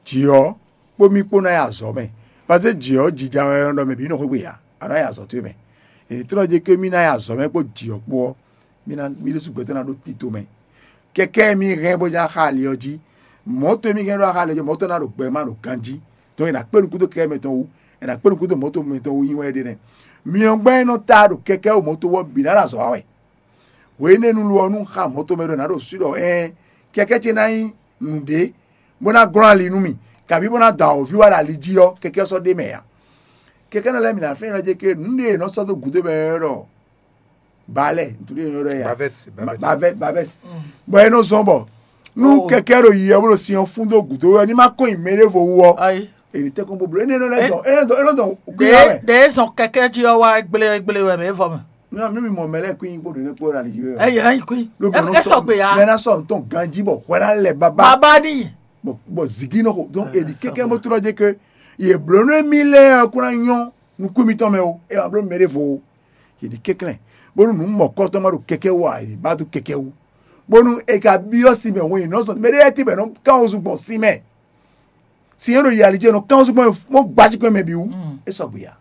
Dzi ɔ kpó mì kpó ná yi azɔ̌ mɛ. Paseke jǐ ɔ́, jija wɛ nɔ ɖɔ mɛ bǐ nɔ xwé gbe ǎ, a nɔ yi azɔ̌ towe mɛ. È nǐ tlɔ́ jí ké mì ná yi azɔ̌ mɛ kpó jǐ ɔ́ kpó ɔ́, mì ná mì ɖésú gbɛtɔ́ ná ɖó tito mɛ. Kɛkɛ́ mì hɛn bó ná xa ali ɔ́ jí. Mɔ̌ towe mì hɛn ɖó xa ali ɔ́ jí, mɔ̌ tɔn ná ɖo gbɛ má ɖo ganjí. Tɔn è nǎ kpé nukúndó kɛkɛ́ mɛtɔn wú, è nǎ kpé nukúndó mɔ̌ towe mɛtɔn wú nyi wɛ é ɖe nɛ́. Myɔ gbɛ́ e nɔ ta ɖo kɛkɛ́ wú mɔ̌ towe ɔ́ bǐ ná ɖo azɔ̌ wa wɛ. Hwenɛ́nu lɔ ɔ́, nú un xa mɔ̌ tomɛ ɖɔ nǎ ɖo swí ɖɔ ɛɛn, kɛkɛ́ ce ná nyí nǔɖé, bó ná glɔ́n ali nú mì, kabǐ bó ná dɔn awǒvi wá ɖo ali jí ɔ́, kɛkɛ́ ɔ́ sɔ́ ɖ'é mɛ ǎ. Kɛkɛ́nɔ lɛ́ɛ mi ná flɛ́n nɔ jɛ ké nǔɖé e è nɔ sɔ́ dó gǔdo mɛ ɔ́ ɖɔ balɛ, ntúɖé e è nɔ ɖɔ ya Bavɛs, bavɛs. Bavɛs, bavɛs. Bɔ é nɔ zɔn bɔ nú kɛkɛ́ ɖo yi ɔ́ bó ɖo sin ɔ́ fún dó gǔdo ɔ́, ní má kɔn nyi mɛ ɖěvo wú ɔ́, Ayi. È nǐ tɛ́nkpɔ́n bó bló. Énɛ́ nɔ lɛ́ dɔn, énɛ́ dɔn, énɛ́ dɔn gbé wá wɛ. Ɖe zɔn kɛkɛ jí ɔ́ wá gblé gblé wɛ mɛ vɔ mɛ. Non, mi mi mɔ mɛ lɛ́ɛ kú nyi kpó ɖo nɛ́ kpó ɖo ali jí wɛ. Ɛ yɛ ná yi kú. Ló bɔ Ɛ sɔ gbé ya. Mɛ ná sɔ ntɔn ganjí bɔ hwɛ ná lɛ baba. Baba ni. Bɔ bɔ zigi nɔ xo. Donc èdi kɛkɛ bó trɔ dé ke yɛ bló nú émí lɛ́ɛ kó ná nyɔ́ nukún mitɔn mɛ o. E ma bló mɛ ɖé vo o. Yě ɖi kɛnklɛ́n bónú nǔ mɔ̌kɔtɔn ma ɖo kɛkɛ wú ǎ, yě ba dó kɛkɛ wú. Bónú è ka byɔ́ sin mɛ hɔn yě nɔ zɔn mɛ ɖé lɛ́ɛ tíbɛ́ nɔ kán wezun gbɔn sin mɛ. Sin e ɖo yi ali jí e nɔ kán wezun gbɔn mɔ gbasíkɔ mɛ bǐ wú, é sɔgbe ǎ.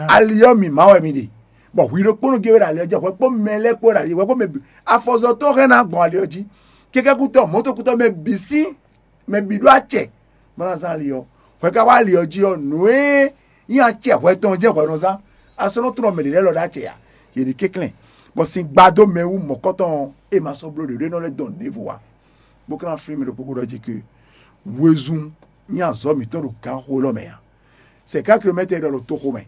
Ali ɔ́ mǐmá wɛ mi ɖe, bɔ hwi ɖokpónɔ gé wɛ ɖo ali ɔ́ jí, hwɛ kpó mɛ lɛ́ɛ kpó ɖo ali hwɛ kpó mɛ bǐ. Afɔzɔtɔ́ hɛn ná gbɔn ali ɔ́ jí, kɛkɛ́kútɔ́, mɔ̌tokútɔ́, mɛ bǐ sín mɛ bǐ ɖó acɛ bó ná zán ali ɔ́. Hwɛ ka wá ali ɔ́ jí ɔ́, nǔ e nyí acɛ hwɛ tɔn jɛ́n hwɛ nɔ zán. A sɔ́ nɔ tlɔ́n mɛ ɖě lɛ́ɛ lɔ ɖó acɛ ǎ. Yě ní kɛnklɛ́n, bɔ sin gba dó mɛ wú mɔ̌kɔtɔn e ma sɔ́ bló ɖě ɖó é nɔ lɛ́ dɔn nǔɖěvo ǎ. Bó ka ná flín mì ɖo kpókpó ɖɔ jí ke Wezun nyí azɔ̌ mǐtɔn ɖo gǎnxó élɔ́ mɛ ǎ. Cinquante kilomètres e ɖɔ ɖo toxo mɛ.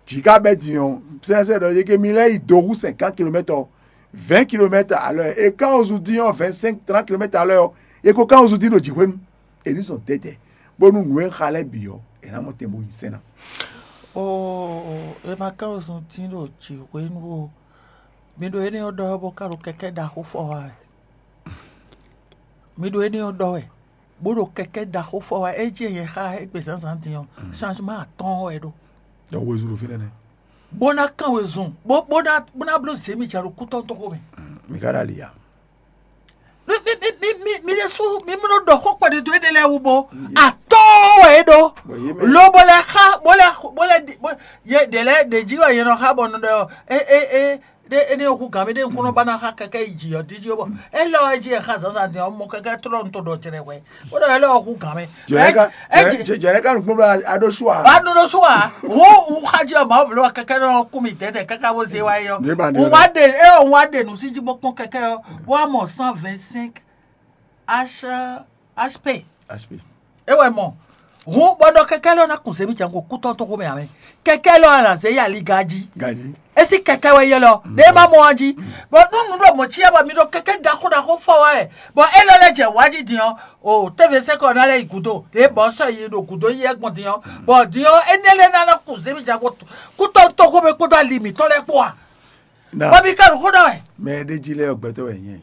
Jǐ ka bɛ́ din ɔ́, sɛ́nsɛ́n ɖɔ yě ké mi lɛ́ yi do hú cinquante kilomètres ɔ́, vingt kilomètres à l'heure, e kan ozu dín ɔ́, vingt cinq trente kilomètres à l'heure ɔ́, e ko kan ozu dín ɖo jǐxwénu. E ní zɔn dɛdɛ, bónú nǔ e xa lɛ́ɛ bǐ ɔ́, è nǎ mɔ tɛn bó nyi sɛ́n ná. Oo, e ma kan ozu dín ɖo jǐxwénu o. Mi ɖo énɛ́ ɔ́ ɖɔ wɛ bó ka ɖo kɛkɛ́ ɖaxó fɔ wá wɛ. Mi ɖo énɛ́ ɔ́ ɖɔ wɛ, bó ɖo kɛkɛ́ ɖaxó fɔ wá, é jí nyɛ xá égbé zǎnzǎn din ɔ́, changement atɔ́ɔ́n wɛ é ɖó. Donc wezun ɖo fínɛ́ nɛ́. Bó ná kán wezun, bó bó ná bó ná bló zě mi jɛ ɖo kútɔ́ tɔn xomɛ. Mi ka ɖo ali ya? Mi mi mi mi mi mi ɖésú mi mló ɖɔ xó kpɛɖé dó éɖé lɛ́ɛ wú bó atɔ́ɔ́n wɛ é ɖó. Bɔ yé mɛ Lo bó lɛ xá bó lɛ bó lɛ ɖi- bó- yé ɖě lɛ́ɛ ɖě jí wɛ yé nɔ xá bɔ nɔ ɖɔ é é é ɖé énɛ́ ɔ́ hú gǎn mɛ ɖé ŋkúnɔ ba ná xa kɛkɛ́ yi jǐ ɔ́ díjí ɔ́ bɔ é lɔ ɛ jí ɛ xa zǎnzǎn din ɔ́ mɔ kɛkɛ́ tlɔ́ nu to ɖɔ jlɛ hwɛ bó ɖɔ é lɔ ɔ hú gǎn mɛ. Jɛnɛ ka Ɛ- ɛ- jɛnɛ jɛ- jɛnɛ ka nukpɔn bla aɖo su a? Ba ɖo ɖo su a wo wo xa jí ɔ ma wo bló kɛkɛ́ nɔ kú mi dɛdɛ kaka wo zé wa yi ɔ Ní ba ní wo ɔ́ wa ɖe é ɔ wa ɖe nu sí jí bó kpɔn kɛkɛ́ ɔ wa mɔ cent vingt cinq H HP HP. É wɛ mɔ hun bɔ ɖɔ kɛkɛ́ lɔ ná kun zé mi jango kútɔ́ tó xomɛ amɛ kɛkɛ́ lɔ ná zé yi aliga jí. Gaji. Esi kɛkɛ wɛ yɛ lɔ ɖe ma mɔ wan jí bɔ nú nu ɖo mɔ cia bɔ mi ɖo kɛkɛ ɖaxó ɖaxó fɔ wa wɛ bɔ e lɔ lɛ jɛ wa jí din ɔ o tɛvɛ sɛ kɔ na lɛ yi gudo ɖe bɔ sɔ yi ɖo gudo yi ɛgbɔn din ɔ bɔ din ɔ ene lɛ na na kun zemi jago kutɔ tɔgɔ bɛ kpɔdɔ ali mitɔ lɛ kpɔ wa Na bɔ mi ka ɖo xó ɖɔ wɛ. Mɛ ɖe jí lɛ gbɛtɔ wɛ nyɛ.